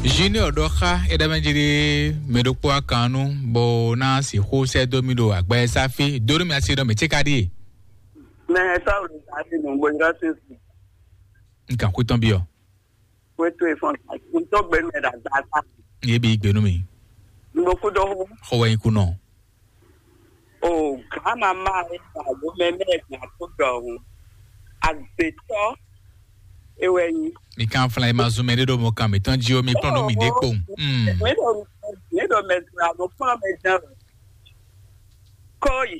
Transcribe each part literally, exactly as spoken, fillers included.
Junior ɖɔ xá é ɖɔ mɛ jí ɖé mɛ ɖokpó akan nú bó ná sixú sɛ́ dó mì ɖo agbɛsáfí dó nú mì asi ɖɔ mɛ cé ka ɖíe. Mɛ sɔ́ ɖo davi nǔgbó yrɔ́ sínsìn. Nkan xwé tɔn byɔ. Xwé tó e fɔn tó gbé mɛ ɖo agbasa. Yé bí gbé nú mi. Nǔgbó kú dó hú. Xɔ wɛ nyí kú nɔ. O gama ma e ta lo mɛ mɛ na to dɔhun. Agbetɔ e wɛ nyi. Mi kan fla ma zun mɛ ɖé ɖo mɔ kan mi tɔn jí o mi kplɔn ɖo mi ɖé kpowun. Mm. Mi ɖo mi ɖo mɛ zra lo kplɔn mɛ zan. Kɔyi.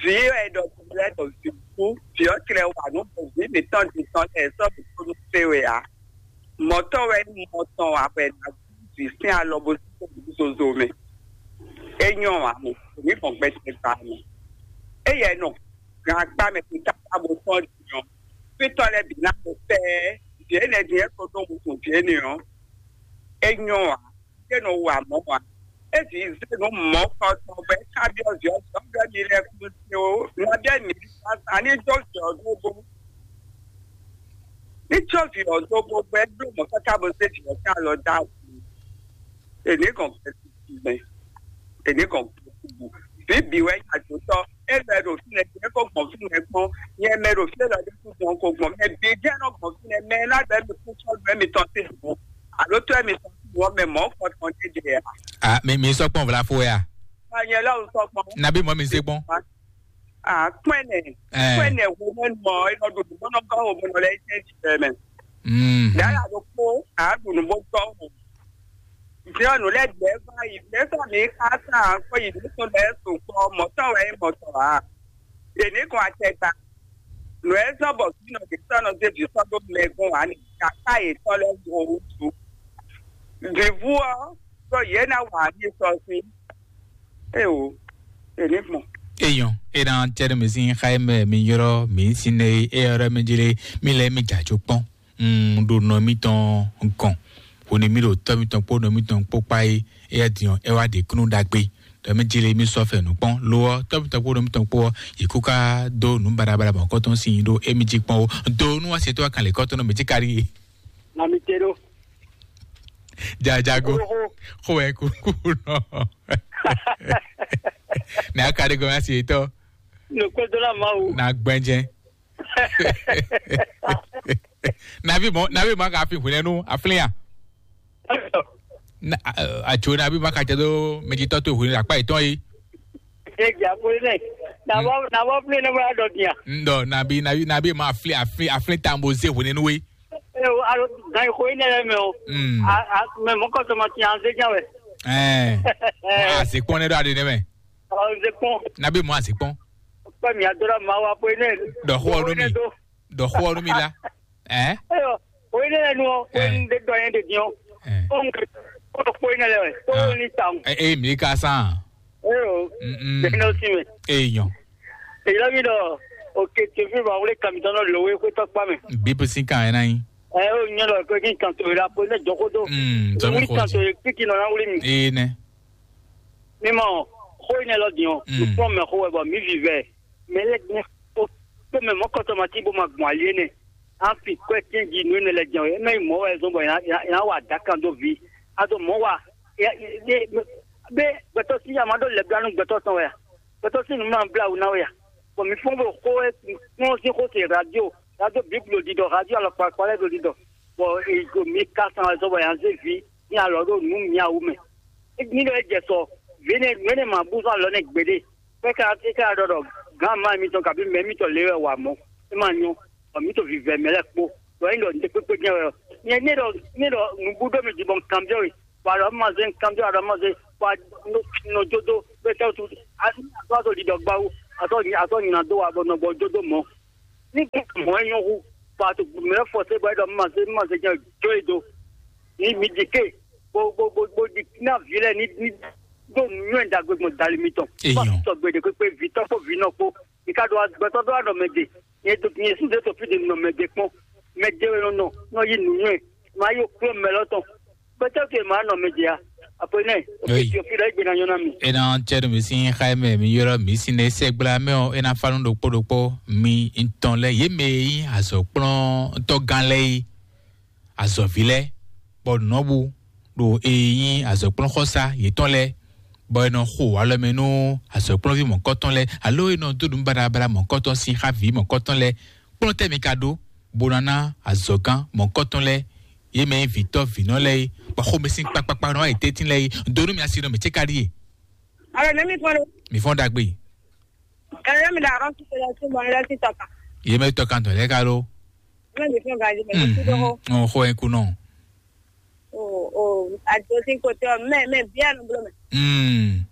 Vi e ɖɔ lɛ ɖɔ vi kú. Vi ɔ tlɛ wa nú vi mi tɔn di tɔn lɛ sɔ bi kú nú fe wɛ a. Mɔtɔ wɛ mɔtɔn wa wɛ na vi sín alɔ bó sín zozo mɛ. É nyɔ́ ǎ mɛ, ní gbɔn gbɛtɛ gba mɛ. Éyɛ nɔ gan akpá mɛ kó tá bó tɔn din ɔ́, fítɔ́ lɛ́ɛ bǐ ná ko fɛ́ vǐ énɛ́ din é ko ɖó wuntun vǐ énɛ́ ɔ́, é nyɔ́ ǎ, é nɔ wa mɔ̌ ǎ. É vǐ zé nǔ mɔ̌ kɔ tɔn bɔ é ká byɔ́ vǐ ɔ́, vǐ ɔ́ byɔ́ mi lɛ́ɛ kú se ó, nabí ɛ́ mǐ sa ní jó vǐ ɔ́ dó bó. Ní jó vǐ ɔ́ dó bó bɔ é bló mɔ̌ káká bó zé vǐ ɔ́ sín alɔ dó awu. Èní gɔn gbɛtɛ mɛ. Èní gɔn gbɛtɛ. Bí bǐ wɛ nya dó tɔ́. É lɔ ɛ ɖo fínɛ́, é ko gbɔn fínɛ́ kpɔ́n. Nyɛ mɛ ɖo fínɛ́ lɔ ɖé kú gbɔn ko gbɔn. Mɛ bǐ jẹ́ nɔ gbɔn fínɛ́. Mɛ ná bɛ́ mi kú sɔ́ nǔ ɛ mi tɔn sí nǔ. Alo tó ɛ mi tɔn sí nǔ ɔ́ mɛ mɔ̌ kɔ tɔn jɛjɛ a? Ah, mi mi sɔ kpɔn vla fo ya. Nya nyɛ lɔ sɔ kpɔn. Nabi mɔ mi se kpɔn. Ah, kpɛnɛ. Eh. Kpɛnɛ wo mɛ nɔ e nɔ ɖo nǔ bɔ nɔ gɔ́ wo mɔ nɔ lɛ jɛ jɛ mɛ. Mm. Dala ɖokpó a ɖu nǔ bó tɔ́ wò. Jɔnu lɛ gbɛ va yi mɛ sɔ mi ka sa kɔ yi nǔ tɔn lɛ so kpɔ mɔtɔ wɛ mɔtɔ a. Èmi kò atɛgba. Nù ɛ sɔ bɔ kí nɔ de sɔ nɔ de vi sɔ ɖo mɛ gɔn wa ni kaka yě tɔ lɛ wo wusu. Vivu ɔ sɔ yě na wa mi sɔ sí. Eo, èmi gbɔn. Eyɔn, e na tɛ ɖe mi sin xa e mɛ mi yɔrɔ mi sin ne e yɔrɔ mi jele mi lɛ mi dza tso kpɔn. Mm, ɖo nɔ mitɔn gɔn. Hone mi ɖo tɔ mitɔn kpó nɔ mitɔn kpó kpa yi. Eya diɔ e wa ɖe kunu ɖagbe. Ɖɔ mi jele mi sɔ fɛ nu kpɔn. Lo ɔ, tɔ mitɔn kpó nɔ mitɔn kpó ɔ, yi kú ka do nu barabara bɔ kɔtɔn sin ɖo emi ji kpɔn o. Do nu wa se to akan le kɔtɔn nɔ mi ji kari. Na mi te ɖo. Jajago. Xo wɛ kúkú nɔ. Ní a ka ɖe gɔmɛ asi etɔ. Nukpɛdɔla Mawu. Na gbɛnjɛ. Nabi mɔ nabi mɔ ka fi hwinɛ nu aflin ya. Na atso nabi mɔ ka jɛ do mɛjitɔ to hwinɛ akpa etɔn yi. Ege akpoli nɛ. Nabɔ nabɔ fi ne bɔ adɔ dia. Ndɔ nabi nabi nabi mɔ aflin aflin aflin tambo ze hwinɛ nu we. Alo gan ixo yi nɛ lɛ mɛ o. Mm. Mɛ mɔ kɔsɔmɔ ti an ze jan wɛ. Ɛɛ. Mɔ azikpɔn ne ɖo aɖe ne mɛ. Ɔ ze kpɔn. Nabi mɔ azikpɔn. Kpɛ mi adora ma wa ko yi nɛ. Dɔ xɔ nu mi. Dɔ xɔ nu mi la. Ɛɛ. Eyɔ o yi nɛ lɛ nu ɔ ko yi de dɔ yɛn de diɔ. Ɛɛ. O ŋkɛ o ko yi nɛ lɛ wɛ ko ni ta ŋu. Ee mi ka san. Eyɔ. Mm. Bɛn n'o si mɛ. Ee nyɔ. Èyí lɔ mi ɖɔ òkè tòfin bɔ wọlé kàmítɔn nɔ lò wé xwétɔ kpa mɛ. Bíbí sí kan ẹ̀ náà yín. Ẹ ó nyɛ lɔ pé kí n kan tó la pé ne jɔ xó dó. Mm, zɔmi wuli xo kan tó ti. Yé kpíkí nɔ ná wuli mi. Ee nɛ. Mi mɔ xó yi nɛ lɔ diɔ. Mm. Nukpɔn mɛ xó wɛ bɔ mi vi vɛ. Mɛ lɛ gbɛ ó pé mɛ mɔ kɔtɔ ma ti bó ma gbɔn ali énɛ́. An fi kɔɛ tiɛn ji nǔ énɛ́ lɛ jɛ o. Ɛ mɛ yi mɔ wɛ zɔn bɔ yà yà wà dakan dó vi. A dó mɔ wa. Bɛ gbɛtɔ si yà má dó lɛ bla nú gbɛtɔ tɔn wɛ a. Gbɛtɔ si nǔ má bla wú ná wɛ a. Bɔn mi fɔn bɔ xó ɛ kplɔn sín xó se radio radio bíblu ɖiɖɔ radio alɔkpakpa lɛ ɖo ɖiɖɔ. Bɔn ego mi ka san wɛ zɔ bɔ yà zé vi ní alɔ ɖo nǔ miawu mɛ. Ní ɖɔ é jɛ sɔ vi ne nǔ énɛ́ ma bú zɔ alɔ nɛ gbeɖé. Fɛ́ ká é ká ɖɔ ɖɔ gǎn má mitɔn kabí mɛ mitɔn lě wɛ wa mɔ̌. É ma nyɔ́, bɔ mǐ to vǐvɛ́ mɛ lɛ́ɛ kpó. Ɖɔ é ɖɔ nǔɖé kpékpé jɛ́n wɛ ɔ́. Nyɛ ní ɖɔ ní ɖɔ nǔbú ɖó mi jí bɔ un kanbyɔ́ we, bɔ aɖɔ ma zé un kanbyɔ́ aɖɔ ma zé, bɔ nɔ jó dó bɛ tɛ́ wútu azɔ́ azɔ́ ɖiɖɔ gbá wú, azɔ́ azɔ́ nyi ná dó wa bɔ nɔ gbɔ jó dó mɔ̌. Ní mɔ̌ é nyɔ́ hú, bɔ a to mɛ lɛ́ɛ fɔ sé bɔ é ɖɔ má zé má zé jɛ́n jó e dó. Ní mi ɖi ké, bó bó bó bó ɖi ná vǐ lɛ́ɛ ní ní ɖó nǔnywɛ́ ɖagbe gbɔn dali mitɔn. Eyɔn. Bó a sɔgbe ɖe kpékpé vǐtɔ́ kpó vǐnɔ kpó. Mi ka ɖo gbɛtɔ́ ɖó aɖɔ mɛ ɖe. Nyɛ ɖo nyɛ sín ɖětɔ́ fí ɖe nɔ mɛ ɖe kpɔ́n. Mɛ ɖe wɛ nɔ nɔ nɔ yí nǔnywɛ́. Ma yí okplɔ́ mɛ lɔ tɔn. Gbɛtɔ́ ke ma nɔ mɛ ɖe a. Apo nɛ. Oke tí o fi ɖɔ egbe na nyɔ na mi. E na tse ɖo mi sín xa mɛ mi yɔrɔ mi sín ne sɛgbla mɛ ɔ e na fa nu ɖokpó ɖokpó mi ŋutɔn lɛ yé mɛ yi azɔkplɔ́ntɔ́ gán lɛ yi azɔvi lɛ. bɔ nɔbu ɖo e nyí azɔ̌kplɔ́nxɔsá yětɔn lɛ́ɛ, bɔ è nɔ xo alɔ mɛ nú azɔ̌kplɔ́nví mɔ̌kɔtɔn lɛ́ɛ, alo è nɔ dó nǔ baɖabaɖa mɔ̌kɔtɔn sín xá vǐ mɔ̌kɔtɔn lɛ́ɛ. Kplɔ́n tɛ́ mi ka ɖó, bó ná ná azɔ̌gán mɔ̌kɔtɔn lɛ́ɛ, yě mɛ nyí vǐtɔ́ vǐnɔ lɛ́ɛ é, bɔ xomɛ sín kpakpakpa nɔ wá yi tɛ́ntin lɛ́ɛ é. Donu mì asi nɔ mì cé ka ɖíe. Alo, ne mi fɔn ɖo? Mi fɔn ɖagbe. Alo, ne mi ɖo arɔn si tɔn lɛ si bɔ ne lɛ si tɔ kan. Yě mɛ tɔ kan tɔ lɛ ka ɖó. Ne mi fɔn gaji mɛ si ɖo. Ɔn xɔ ɛ kunɔ. O o, ajo si ko tɛ mɛ mɛ biɛ no blo mɛ. Mm.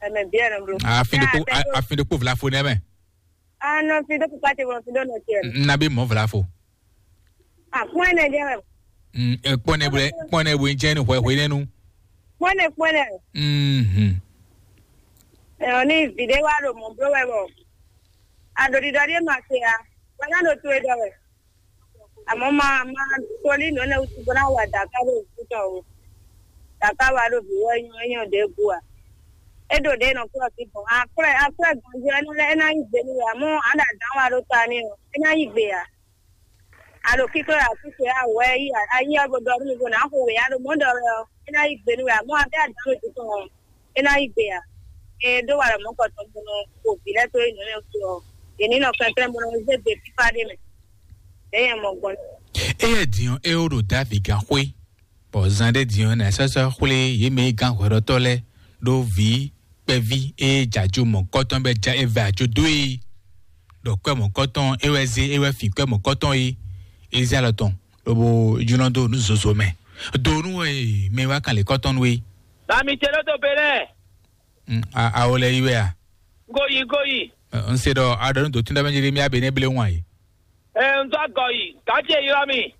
Mɛ biɛ no blo. Afin de ko afin de ko vlafo nɛ mɛ. Ah non, fi do papa te bro, fi do no tiɛ. Na bi mɔ vlafo. Ah, kpɔn ne jɛ. Mm, e kpɔn ne bwe kpɔn ne bwe jɛ ni hwɛ hwɛ ne nu. Kpɔn ne kpɔn ne. Mhm. E o ni vide wa do mɔ bro wɛ bɔ. A do di dɔ di ma se a. Wa na do tu e dɔ wɛ. Àmọ́ máa máa tolí nǔ énɛ́ wútu bó ná wa dǎká ɖo vǐ tɔn o. Dǎká wa ɖo vǐ wɛ nyɔ é nyɔ ɖě gu a. É ɖo ɖě nɔ kplɔ́ sí gbɔn. Akwɛ́ akwɛ́ gbɔn jí ɛnú lɛ́ɛ é ná nyí gbe nú we, àmọ́ àɖa dǎn wa ɖó ta n'i ɔ́, é ná nyí gbe ǎ. A ɖo kíklɔ́ ɖo asú ce a wɛ yí a yí ɔ́ bo ɖɔ nú mi bo nǎ xo wě a ɖo mɔ̌ ɖɔ wɛ ɔ́, é ná nyí gbe nú we, àmọ́ a bɛ́ adǎn we tɔn ɔ́, é ná nyí gbe ǎ. E ɖó wa ɖɔ mɔ̌ kɔ tɔn bo nɔ xo vǐ lɛ́ɛ tó é nǔ lɛ́ɛ wútu ɔ́, yě ní nɔ kɛnklɛ́n bo nɔ zé gbe fífá ɖé mɛ. Ɖě nyɛ mɔ gbɔn. Éyɛ́ din ɔ́, é ó ɖo Davi gán xwé, bɔ zan ɖé din ɔ́, nǎ sɔ́ sɔ́ xwlé yě mɛ e gán hwɛɖɔtɔ́ lɛ́ɛ ɖó vǐ kpɛví e jɛ ajo mɔ̌kɔtɔn bɔ é ja é vɛ ajo dó e. Ɖɔ kwɛ́ mɔ̌kɔtɔn é wɛ zé é wɛ fin kwɛ́ mɔ̌kɔtɔn e é zé alɔ tɔn, lobo jlɔ́n dó nǔ zozo mɛ. Do nú e mɛ wá kan lě kɔ́tɔn nú é. Bami ce ló tó Benɛ́. Mm, a- awo lɛ yi wɛ a? Goyi goyi. Ɛ, n se ɖɔ a ɖɔ nú dotún ɖɔ mɛ jeli mi abe ne ble wan yi. Ɛ, n zɔ gɔ yi, gǎ ce ylɔ́ mì.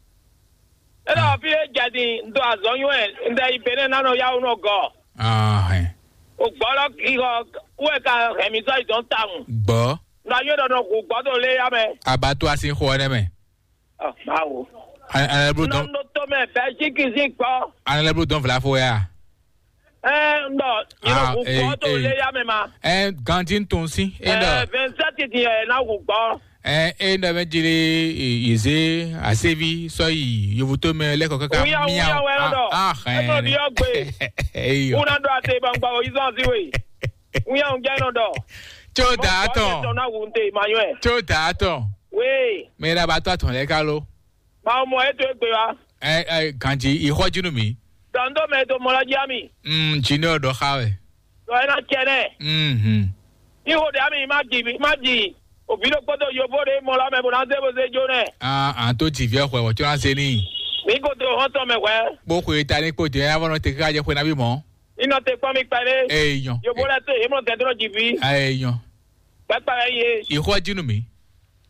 É ɖɔ fí é jɛ din, un dó azɔ̌ nywɛ́, un ɖɛ yi Benɛ́ ná nɔ yá wú nɔ gɔ. Ahɛn. O gbɔ lɔ ki xɔ wɛ ka hɛn mi sɔ́ yi dɔn tawun. Gbɔ. Un ɖo anyɔ ɖɔ nɔ hu gbɔ ɖo lé ya mɛ. Abattoir sín xɔ ɔ́ nɛ́ mɛ. Ɔ, báwo? An- an lɛ blo Nɔ dɔn nɔ to mɛ Belgique sín gbɔ. An lɛ blo dɔn vlafo ya. Ɛ, n ɖɔ yɛ nɔ hu gbɔ ɖo lé ya mɛ ma. Ɛ, ganti tɔn si e ɖɔ. Ɛ, vingt-sept din ɛ na hu gbɔ. Ɛ, e ɖɔ mɛ jeli yeze asevi sɔ yi yovoto mɛ lɛkɔ kaka Wuya, miawo. Wuya wɛ nɔ ɖɔ. Ah, Ɛ nɔ ɖiɔ gbe. Eyo. Wuna ɖɔ ate bangba o yizɔn si we. Wuya ŋu jɛ nɔ ɖɔ. Tso da atɔn. Tɔ na wu nte ma yɔɛ. Tso da atɔn. We. Mɛ ɖa ba tɔ atɔn lɛ ka lo. Ma mɔ e to egbe wa. Ɛ ɛ ganji ixɔ jinu mi. Dɔn do mɛ to mɔ la jia mi. Mm, junior dɔ xa wɛ. Dɔ e na cɛ nɛ. Mhm. Ni wo de ami ma ji mi ma ji. Obi ɖo kpɔtɔ yovo ɖe mɔ la mɛ bo na ze bo ze jo nɛ. Ah, an to ji viɛ xɔ wɔ tso na se ni. Mi ko to hɔn tɔ mɛ hwɛ. Bo xwe ta ni kpo de ya vɔ nɔ te ka jɛ xwe na bi mɔ. Ni nɔ te kpɔn mi kpɛ ne. Eyan. Yovo lɛ to yemɔ gɛdrɔ ji vi. Eyan. Kpɛkpɛ ye. Ixɔ jinu mi.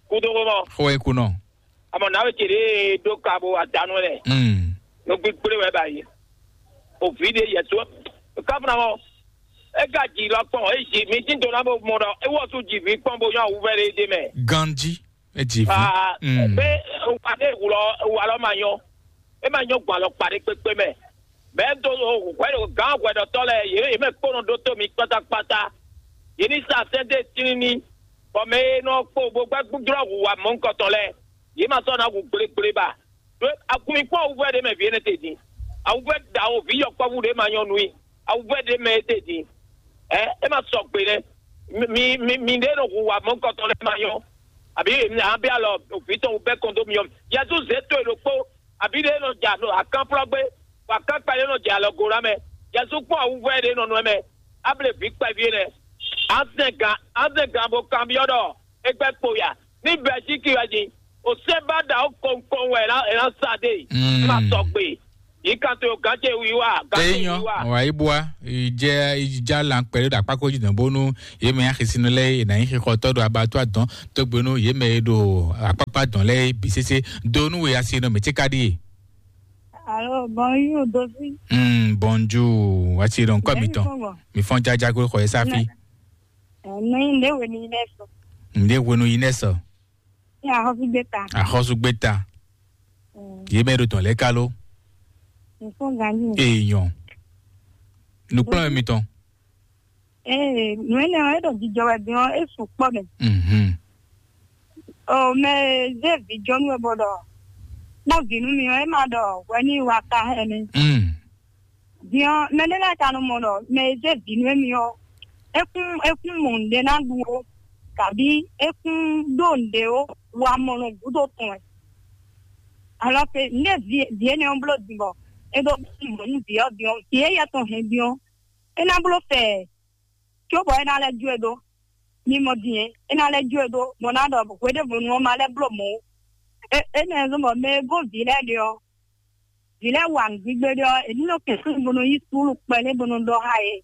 Kudo ko mɔ. Xɔ e kunɔ. Amɔ na we ce ɖe ɖo ka bo adanu lɛ. Mm. No gbigble wɛ ba yi. O vi ɖe yɛ to. Ka fana mɔ. E ka ji lɔ kpɔn, e ji mi ti do na bo mɔ ɖɔ e wɔ tu ji vi kpɔn bo yɔ awu vɛ ɖe ɖe mɛ. Ganji, e ji vi. Ah, Mm. Be wa ɖe wulɔ wa lɔ ma nyɔ. E ma nyɔ gbɔ alɔ kpa ɖe kpekpe mɛ. Mɛ do hwɛ ɖo gán hwɛɖɔtɔ lɛ yě yě mɛ kpɔnɔ ɖó tó mi kpátákpátá. Yě ní sa sɛ́n dó tlíní, bɔ mɛ e nɔ kpo bó gbɛ́ gbúdúrɔ́ hu wa mɔ̌hunkɔtɔn lɛ́ɛ, yě ma sɔ́ ná hu gblégblé ba. Ɖó agun mi kpɔ́n awuvɛ́ ɖé mɛ vǐ énɛ́ te din. Awuvɛ́ ɖawo vǐ yɔkpɔ́vú ɖé ma nyɔ́ nú i. Awuvɛ́ ɖé mɛ é te din. Ɛ é ma sɔ gbe nɛ́. Mi mi mi ɖé nɔ hu wa mɔ̌hunkɔtɔn lɛ́ɛ ma nyɔ́. Àbí mi ná bɛ́ alɔ vǐ tɔn wú bɛ́ kɔn dó myɔ. Yɛzu zě to e ɖokpó. Àbí ɖé nɔ dza nɔ akánflɔ́gbé, bɔ akánpa ɖé nɔ dza alɔ go ná mɛ. Yɛzu kpɔ́n awuvɔ ɖé nɔ nɔ mɛ. Able vǐ kpɛví énɛ́. Azɛn gǎn azɛn gǎn bó kanbyɔ́ ɖɔ é gbɛ́ kpo ya. Ní Bɛlzíki wɛ din, o sɛ́n ba ɖa ó kɔnkɔn wɛ é ná sa ɖe. Mm. Má sɔgbe. Yǐ kan to gǎn ce wiwa, gǎn ce Eyɔn, wiwa. Wà yí bua, ìjẹ́ ìjà là ń pẹ̀lú dàpákó jìnnà bónú yémɛ axisinu lɛ yìí nà nyí xixɔtɔ ɖo abattoir dɔn tó gbénú yémɛ e ɖo akpákpá dɔn lɛ bǐ sésé donu we asi nɔ mɛ tí ka ɖíe. Alo, bonjour, Dovi. Mm, bonjour, wati ɖo nkɔ mi tɔn. Mi fɔn jaja ko xɔ yɛ safi. Nɛ nɛ nde we ni nɛ so. Nde we nu yi nɛ sɔ. Ya ho fi gbeta. Axɔsu gbeta. Mm. Yémɛ ɖo tɔn lɛ kalo. Mi fɔn ganji. Eyɔn. Nukplɔn mi tɔn. Ee, nú énɛ́ ɔ́, é ɖo jijɔ wɛ din ɔ́, é sukpɔ́ mɛ. Mhm. O mɛ e zé vǐ jɔnú wɛ bɔ ɖɔ kpɔ́n vǐ nú mi ɔ́, é ma ɖɔ hwɛ ní wa ka hɛn mi. Mm. Din ɔ́, mɛ ɖé lɛ́ɛ ka nɔ mɔ ɖɔ mɛ e zé vǐ nú émí ɔ́, é kún é kún mɔ nǔɖé ná ɖu ó, kabí é kún ɖó nǔɖé ó, wa mɔ nɔ gúdo tɔn wɛ. Alɔ ke nǔɖé vǐ vǐ énɛ́ ɔ́ bló din bɔ é ɖó mɔ nú vǐ ɔ́ din ɔ́, vǐ e yɛ tɔn hɛn din ɔ́, é ná bló fɛ cóbɔ é ná lɛ́ jó e ɖó. Mi mɔ din é, é ná lɛ́ jó e ɖó, bɔ ná ɖɔ hweɖěvɔnu ɔ́ ma lɛ́ bló mɔ̌ ó. É énɛ́ zɔ́n bɔ mɛ e gɔ́n vǐ lɛ́ɛ ɖe ɔ́, vǐ lɛ́ɛ wa nǔgbígbé ɖé ɔ́, è ní nɔ kɛn bo nɔ yí suúlu kpɛɖé bo nɔ ɖɔ xá yě.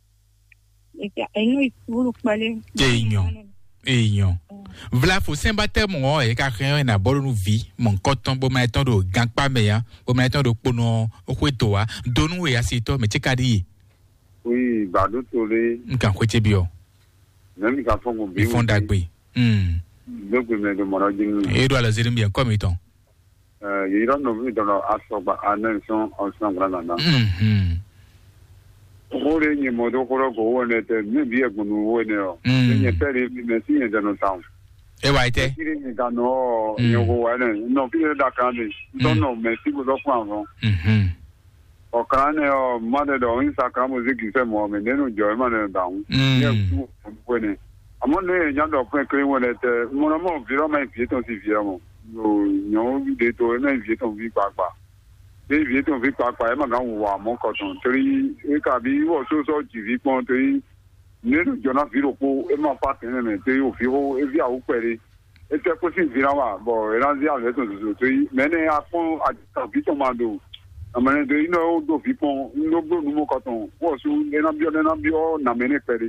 È ní nɔ yí suúlu kpɛɖé. Èèyàn, èèyàn. Vlafo sɛnbatɛmu ɔ́, è ka hɛn ɔ́, è nǎ bɔ́ ɖó nú vǐ mɔ̌hunkɔtɔn bó ma tɔn ɖo gankpá mɛ ǎ, bó ma tɔn ɖo kponɔ xwé dǒ ǎ. Donu e asitɔ mɛ ce ka ɖi ye. Oui, bado tole. N kan xwé ce byɔ. Mɛ mi ka fɔn ko bi. Ìfɔn dagbe. Hmm. Dogbe mɛ do mɔnɔ jin. E ɖo alɔ ziri mbiɛ nkɔ mi tɔn. Yeyira nɔvi dɔnɔ asɔgba anɛ sɔn ɔsɔn gbla nana. Mhm. Xó ɖé nyɛ mɔ dó xó ɖɔ go wó ɛnɛ tɛ, mí bí ɛgbɔn nu wó ɛnɛ ɔ. Mm. Nyɛ pɛ ɖé mɛ sí nyɛ dɛnɔ tawun. E wa yi tɛ. Kí ni nyɛ ka nɔ ɔ, Mm. nyɛ ko wa ɛnɛ. Nɔ kí ni da kan de. Dɔn Mm. nɔ mɛ sí ko dɔ fún àwọn. Mhm. Ɔ kan nɛ ɔ, ma ɖe ɖɔ ŋun sa kan mo zé gisɛ mɔ mɛ nenu jɔ ema nɛ da ŋu. Mm. Nyɛ ku ko ne. Àmọ́ ne nya dɔ fún kle wɛn tɛ, mo na mɔ vi lɔ ma vi tɔn si vi mɔ. Yo nyɔ de to ema vi tɔn vi kpakpa. Ɖé vi tɔn vi kpakpa ema kan wɔ amɔ kɔtɔn. Torí e ka bi wɔ so sɔ ji vi kpɔn torí ne ɖo jɔ na vi ɖokpo ema fa tɛnɛ mɛ torí o vi xo e vi awu kpɛ ɖe. Etɛ kó sín vǐ ná wa, bɔ è nǎ zí alɛ tɔn zozo tó yi. Mɛ énɛ́ a kpɔ́n ajɔ̌ví tɔn ma ɖo amɛnɛ dó yi nɔ ó ɖó vǐ kpɔn, un ɖó bló nǔ mɔ kɔtɔn, wɔ sú é ná byɔ́, é ná byɔ́ nǎ mɛ nɛ́ kpɛɖé.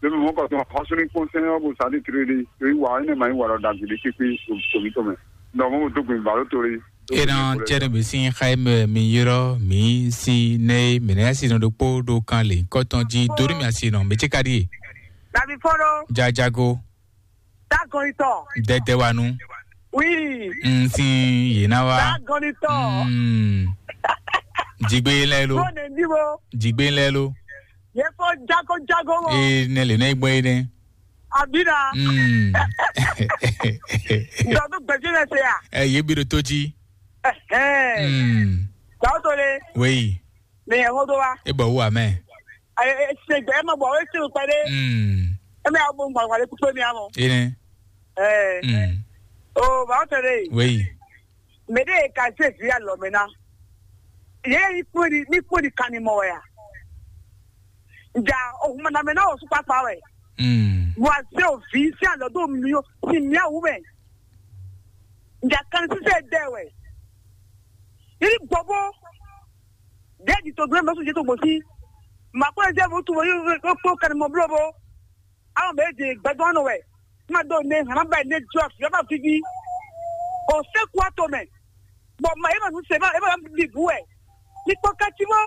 Lómi mɔ kɔtɔn, xɔsúní kpɔ́n sɛn ɔ́, bó sa ní tlé ɖé, tó yi wa, énɛ́ ma nyí wa ɖɔ ɖagbe ɖé kpékpé, tòmítɔn mɛ. Nɔ mɔ ɖó gbìn bǎ ló tó lé. E nɔ cɛ ɖe mi sín xa e mɛ mi yrɔ mi si ne mi nɛ si nɔ ɖokpo ɖo kan le kɔtɔn ji dori mi asi nɔ mi ce ka ɖi e. Davi fɔlɔ. Jajago. Dagɔnitɔ. Dɛdɛwanu. Oui. N sin yena wa. Dagɔnitɔ. Mm. Jigbe lɛ lo. Bó ne ndi bo. Jigbe lɛ lo. Ye fɔ jago jago mɔ. E ne le ne gbɔ ye ne. Abina. Mm. Dɔdu gbɛdzi ne se ya. Ɛ ye bi ɖo to dzi. Ɛhɛn. Mm. Gawo to le. Wei. Mɛ yɛ ho do wa. E bɔ wu amɛ. Ayi e se gbɛ e ma bɔ e se kpɛ de. Mm. E mɛ awo bo ŋgbɔŋgbɔ de kpekpe mi amɔ. Ene. Ɛɛ. Mm. O ba o tɛ de. Wei. Mɛ de ka se vi alɔ mɛ na. Ye ni kpɔn di ni kpɔn di kan ni mɔ wɛ ya. Nja o huma na mɛ na o su kpakpa wɛ. Mm. Wa se o vi si alɔ do mi o si mi awu mɛ. Nja kan sise dɛ wɛ. Yiri gbɔbo. Ɖe ɖi to gblẽ mɛ sɔn jɛ to gbɔn sí. Ma kpɔn ɛsɛ mo tu mo yi kpó kan mo blo bo. Awo mɛ de gbɛdɔn nɔ wɛ. Ma do ne hama ba ne jɔ fi ma vivi. O se ku ato mɛ. Bɔ ma ye ma nu se ma e ma bi bu wɛ. Ni kpɔ kati mo.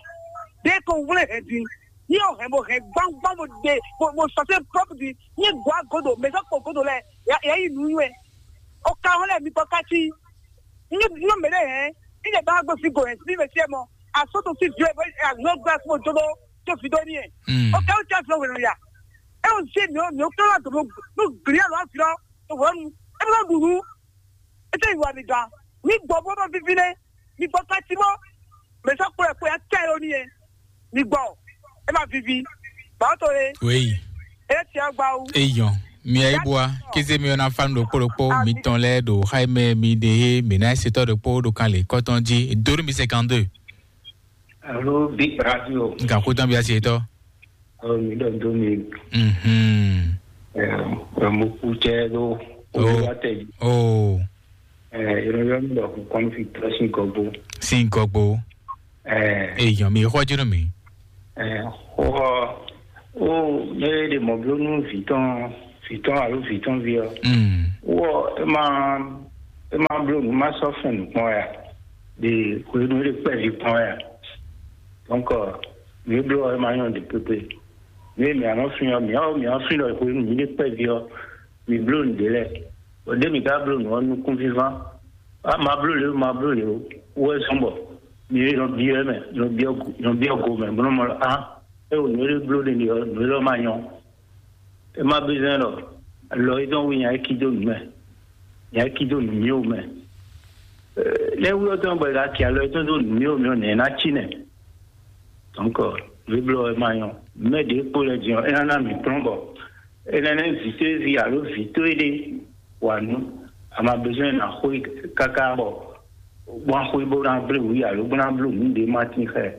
De ko wle hɛ di. Ni o hɛ mo hɛ gbangban mo de mo mo sase pɔp di. Ni gwa godo mɛ sɔ kpɔ godo lɛ. Ya ya yi nu yɛ. O ka hɔn lɛ mi kpɔ kati. Ní bí ó mèɖé hɛn, ní lè bá gbé fi gò hɛn sí mɛ sí ɛ mɔ, asó tó sí vi ɛ bɔ àgbọn gbé fún ojó ló tó fi dó ní ɛ. Mm. Ó kẹ́ ó tẹ́ fún wèrè ya. É ó sí mi ó mi ó kẹ́ wá dòdò ló gblí ɛ lọ́wọ́ fi lọ́ tó wọ́n nu. É bí wọ́n dùn nú. É tẹ́ ìwà mi dàn. Ní gbọ́ bó bá fífi lé, ní gbọ́ ká tí mọ́. Mɛ sɔ kplɔ ɛkplɔ ya kɛ ɖo n'i yɛ. Mi gbɔ. E ma vivi. Ba to le. Oui. E tia gba wu. Eyɔn. Mi ayi bua. Kize mi ona fan ɖokpo ɖokpo mi tɔn lɛ ɖo xayi mɛ mi ɖe he mi na setɔ ɖokpo ɖo kan le kɔtɔn ji dori mi cinquante-deux. Alo Big Radio. Nka ko tɔn bi asi etɔ. Alo mi ɖɔ do mi. Mhm. Ɛ mo ku cɛ ɖo. Oh. Olúwa tɛ. Oh. Ɛ yɔrɔ yɔrɔ mi ɖɔ kɔn fi tɔ sin kɔgbo. Sin kɔgbo. Ɛ. Eyɔn mi xɔ jinu mi. Ɛ xɔ o ne ɖe mɔ blo nu vitɔn vitɔn alo vitɔn vi ɔ. Mm. Wɔ e ma e ma blo nu ma sɔ fɛn nukpɔn ya. De ko nu ɖe kpɛ vi kpɔn ya. Donc mi blo e ma nyɔ de pepe. Mi mi anɔ fi ɔ mi ɔ mi ɔ fi lɔ ko nu mi ɖe kpɛ vi ɔ. Mi bló nǔɖé lɛ́ɛ, bɔ ɖěe mi ka bló nǔ ɔ́ nukúnvínván. Á ma bló lě ó, ma bló lě ó, wú wɛ zɔ́n bɔ mi nɔ byɔ́ ɛ mɛ, nɔ byɔ́ go- nɔ byɔ́ go mɛ, bó nɔ́ mɔ ɖɔ á, é wo nǔ e bló ɖe ɖe ɔ́, nǔ élɔ́ ma nyɔ́. É má bí zɛ́n ɖɔ lɔ é dɔn wí nya é cí dó nǔ mɛ, nya é cí dó nǔ myó mɛ. Lɛ́ wú ɔ́ tɔn bɔ è ka kɛ alɔ tɔn dó nǔ mì ɔ́ mì ɔ́ nɛ̌ ná cí nɛ̌? Donc, vǐblɔ ɛ ma nyɔ. Mɛ ɖě kpo lɛ din ɔ́, é ná ná mǐ kplɔ́n bɔ é ná ná vǐ tó é vi alo vǐ tó é ɖé wa nǔ. A ma besoin ná xwé káká bɔ bó ná xwé bó ná blé wǔ alo bó ná bló nǔ ɖé ma tín xá ɛ.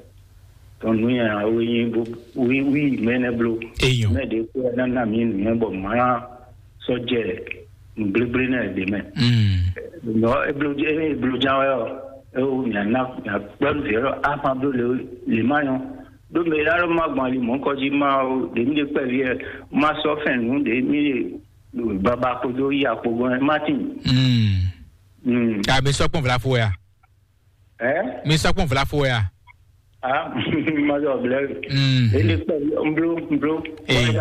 Donc nǔ nyanya wé nyí bó wí wí mɛ nɛ bló. Eyɔn. Mɛ ɖě kpo lɛ ná ná mǐ nǔ nyɛ bɔ mǎ ná sɔ́ jɛ nǔgblégblé nɛ ɖě mɛ. Mm. Nɔ eblo eblo ján wɛ ɔ, ewo mia na mia kpɛnu vɛ ɔ ama blo le le ma yɔ. Ɖo mɛ la ɖo ma gbɔn ali mɔ kɔdzi ma o ɖe mi ɖe kpɛvi ɛ ma sɔ fɛn nu ɖe mi ɖe baba kpodo yi akpogbɔn ɛ ma tin. Mm. Mm. A mi sɔ kpɔn vla fo ya. Ɛ? Mi sɔ kpɔn vla fo ya. Ah, ma zɔ blɛ. Mm. Ele kpɛ mblo mblo. Eh.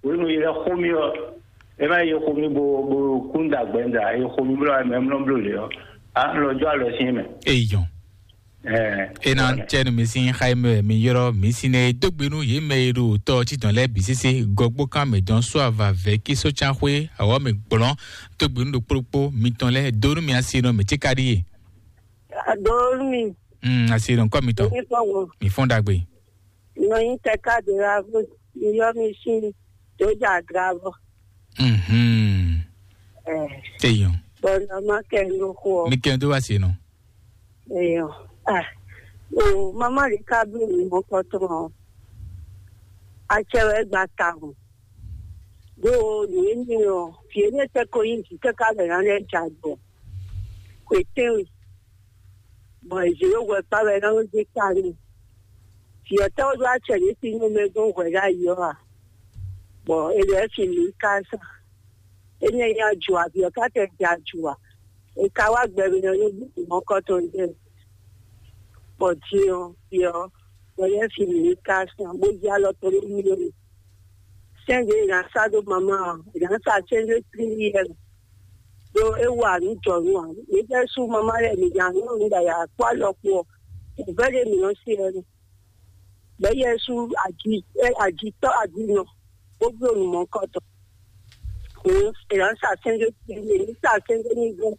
Wenu yɛ xomi ɔ. E ma yɛ xomi bo bo kunda gbɛnda yɛ xomi blo ame mlɔ blo le ɔ. A lɔ jɔ alɔ sin mɛ. Eyɔn. Eh. Ena tɛnu mi sin xayi mɛ mi yɔrɔ mi sin ne dogbe nu ye mɛ ye ɖo tɔ titɔn lɛ bi sese gɔgbo kan mɛ dɔn so ava vɛ ki so can xwe awɔ mi gblɔn dogbe nu ɖo kplokpo mitɔn lɛ do nu mi asi nɔ mi tsi ka ɖi ye. Adonu mi. Mm, asi nɔ kɔ mitɔn. Mi fɔ wo. Mi fɔn dagbe. Nɔ yin tɛ ka de la vo. Mi yɔ mi sin. Doja dravo. Mhm. Eh. Eyɔn. Bɔn nɔ ma kɛ no xo. Mi kɛ do asi nɔ. Eyɔn. Ah. O mama li ka bi mi mo kɔtɔn. Atsɛ wɛ gba ta mo. Ɖó nǔ énɛ́ ɔ́, vǐ énɛ́ tɛ́ ko nyí vǐ káká lɛ̌ ná lɛ́ jɛ agbɔ̌n. Xwetɛ́nwe, bɔ è zě ɖó hwɛkpá wɛ é ná nɔ́ zé kpa n'i. Vǐ ɔ́ tɛ́ wó ɖó acɛ ɖě sín nú mɛ gɔ́n hwɛ ɖ'ayǐ ɔ́ a? Bɔ è ɖɔ ɛ fin mǐ ká sá. Énɛ́ nyí aju ǎ, vǐ ɔ́ ká tɛ jɛ aju ǎ. È ka wá gbɛ mì ɔ́ ní bú mɔ̌kɔ́tɔn jɛ. Bɔ din ɔ́, vǐ ɔ́, bɔ é fin mǐ ká sá, bó jí alɔ tɔn nú mì. Sɛ́n ɖě è nǎ sá dó mama ɔ́, è nǎ sa sɛ́n ɖé tlílí yɛ mɛ. Ɖó é wa nǔ jɔnǔ ǎ. Mǐ fɛ́ sú mama lɛ́ɛ mǐ nya nǔ nǔ ɖo ayǎ kpó alɔ kpó ɔ́, nǔvɛ́ ɖé mǐ nɔ́ se wɛ nú. Bɛ̌ Yɛsu aji ɛ ajitɔ́ ajinɔ, bó bló nǔ mɔ̌kɔtɔn. Hǔn è nǎ sa sɛ́n ɖé tlílí, è nǐ sa sɛ́n ɖé ní gɔ́.